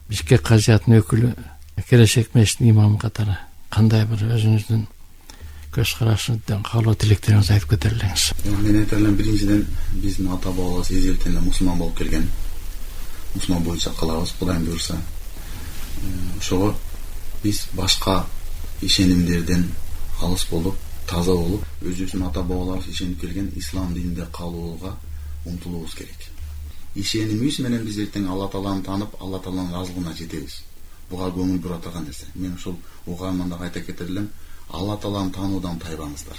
Бишкек казиятынын өкүлү, келечек мешіттин имамы катары кандай бир өзүңүздүн көз карашыңыздан каалоо тилектериңизди айтып кетер элеңиз. Мен айтар элем, биринчиден биздин ата бабаларыбыз эзелтен эле мусулман болуп келген. Мусулман боюнча калабыз, Кудайым буйрса. Ошого биз башка ишенимдерден алыс болуп, таза болуп, өзүбүздүн ата бабаларыбыз ишенип келген ислам дининде калууга умтулуубуз керек. Ишенимибиз менен биз эртең Алла Тааланы таанып, Алла Тааланын ыраазылыгына жетебиз. Буга көңүл бура турган нерсе. Мен ушул угааманда айта кетер элем, Алла Тааланы таануудан тайбаңыздар.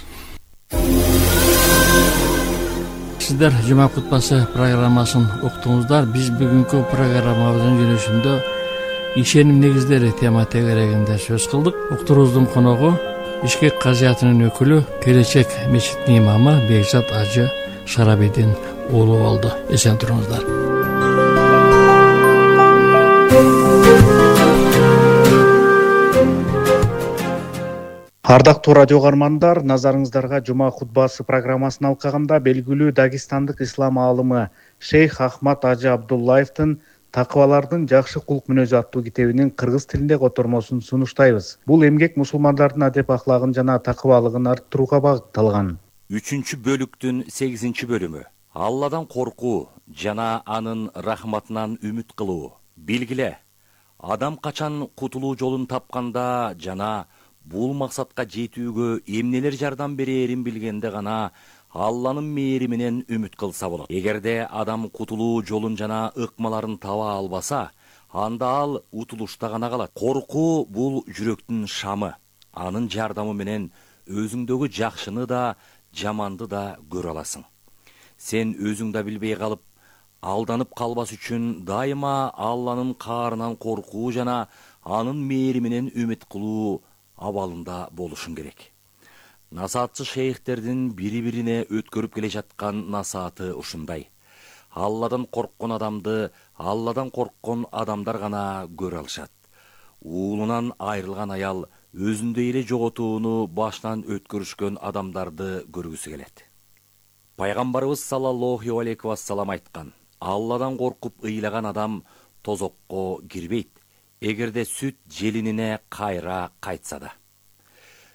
Сиздер жума кутбасы программасын уктуңуздар. Биз бүгүнкү программабыздын жүрүшүндө ишеним негиздери тема тегерегинде сөз кылдык. Уктуруубуздун коногу Бишкек казиятынын өкүлү, келечек мечиттин имамы Бекзат Ажы Шарабидин уулу болду. Эсен туруңуздар. Ардактуу радио угармандар, назарыңыздарга жума хутбасы программасын алкаганда белгилүү дагестандык ислам аалымы Шейх Ахмад Ажы Абдуллаевдин Такыбалардын жакшы кулк мүнөзү аттуу китебинин кыргыз тилинде котормосун сунуштайбыз. Бул эмгек мусулмандардын адеп ахлагын жана такыбалыгын арттырууга багытталган. 3-бөлүктүн 8-бөлүмү. Алладан коркуу жана анын рахматынан үмүт кылуу. Билгиле, адам качан кутулуу жолун тапканда жана бул максатка жетүүгө эмнелер жардам берерин билгенде гана Алланын мээриминен үмүт кылса болот. Эгерде адам кутулуу жолун жана ыкмаларын таба албаса, анда ал утулушта гана калат. Коркуу бул жүрөктүн шамы. Анын жардамы менен өзүңдөгү жакшыны да, жаманды да көрө аласың. Сен өзүң да билбей калып, алданып калбас үчүн дайыма Алланын каарынан коркуу жана анын мээриминен үмүт кылуу абалында болушуң керек. Насаатчы шейхтердин бири-бирине өткөрүп келе жаткан насааты ушундай. Алладан корккон адамды Алладан корккон адамдар гана көрө алышат. Уулунан айрылган аял өзүндөй эле жоготууну башынан өткөрүшкөн адамдарды көргүсү келет. Пайгамбарыбыз саллаллаху алейхи вассалам айткан: Алладан коркуп ыйлаган адам тозокко кирбейт, эгерде сүт желинине кайра кайтса да.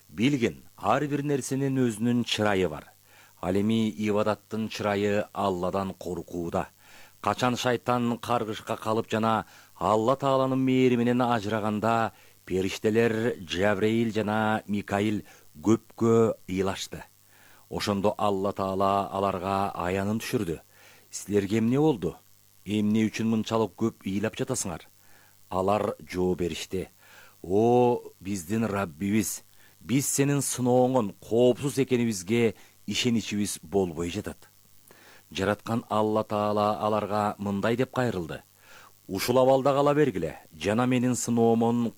Билгин, ар бир нерсенин өзүнүн чырайы бар. Ал эми ибадаттын чырайы Алладан коркууда. Качан шайтан каргышка калып жана Алла Тааланын мээриминен ажыраганда, периштелер Жабраил жана Микаил көпкө ыйлашты. Ошондо Алла Таала аларга аянын түшүрдү. Силерге эмне болду? эмне үчүн мынчалык көп ыйлап жатасыңар? Алар жооп беришти: О, биздин Раббибиз, биз сенин сынооңон коопсуз экенибизге ишеничибиз болбой жатат. Жараткан Алла Таала аларга мындай деп кайрылды: Ушул абалда кала бергиле, жана менин сыноомон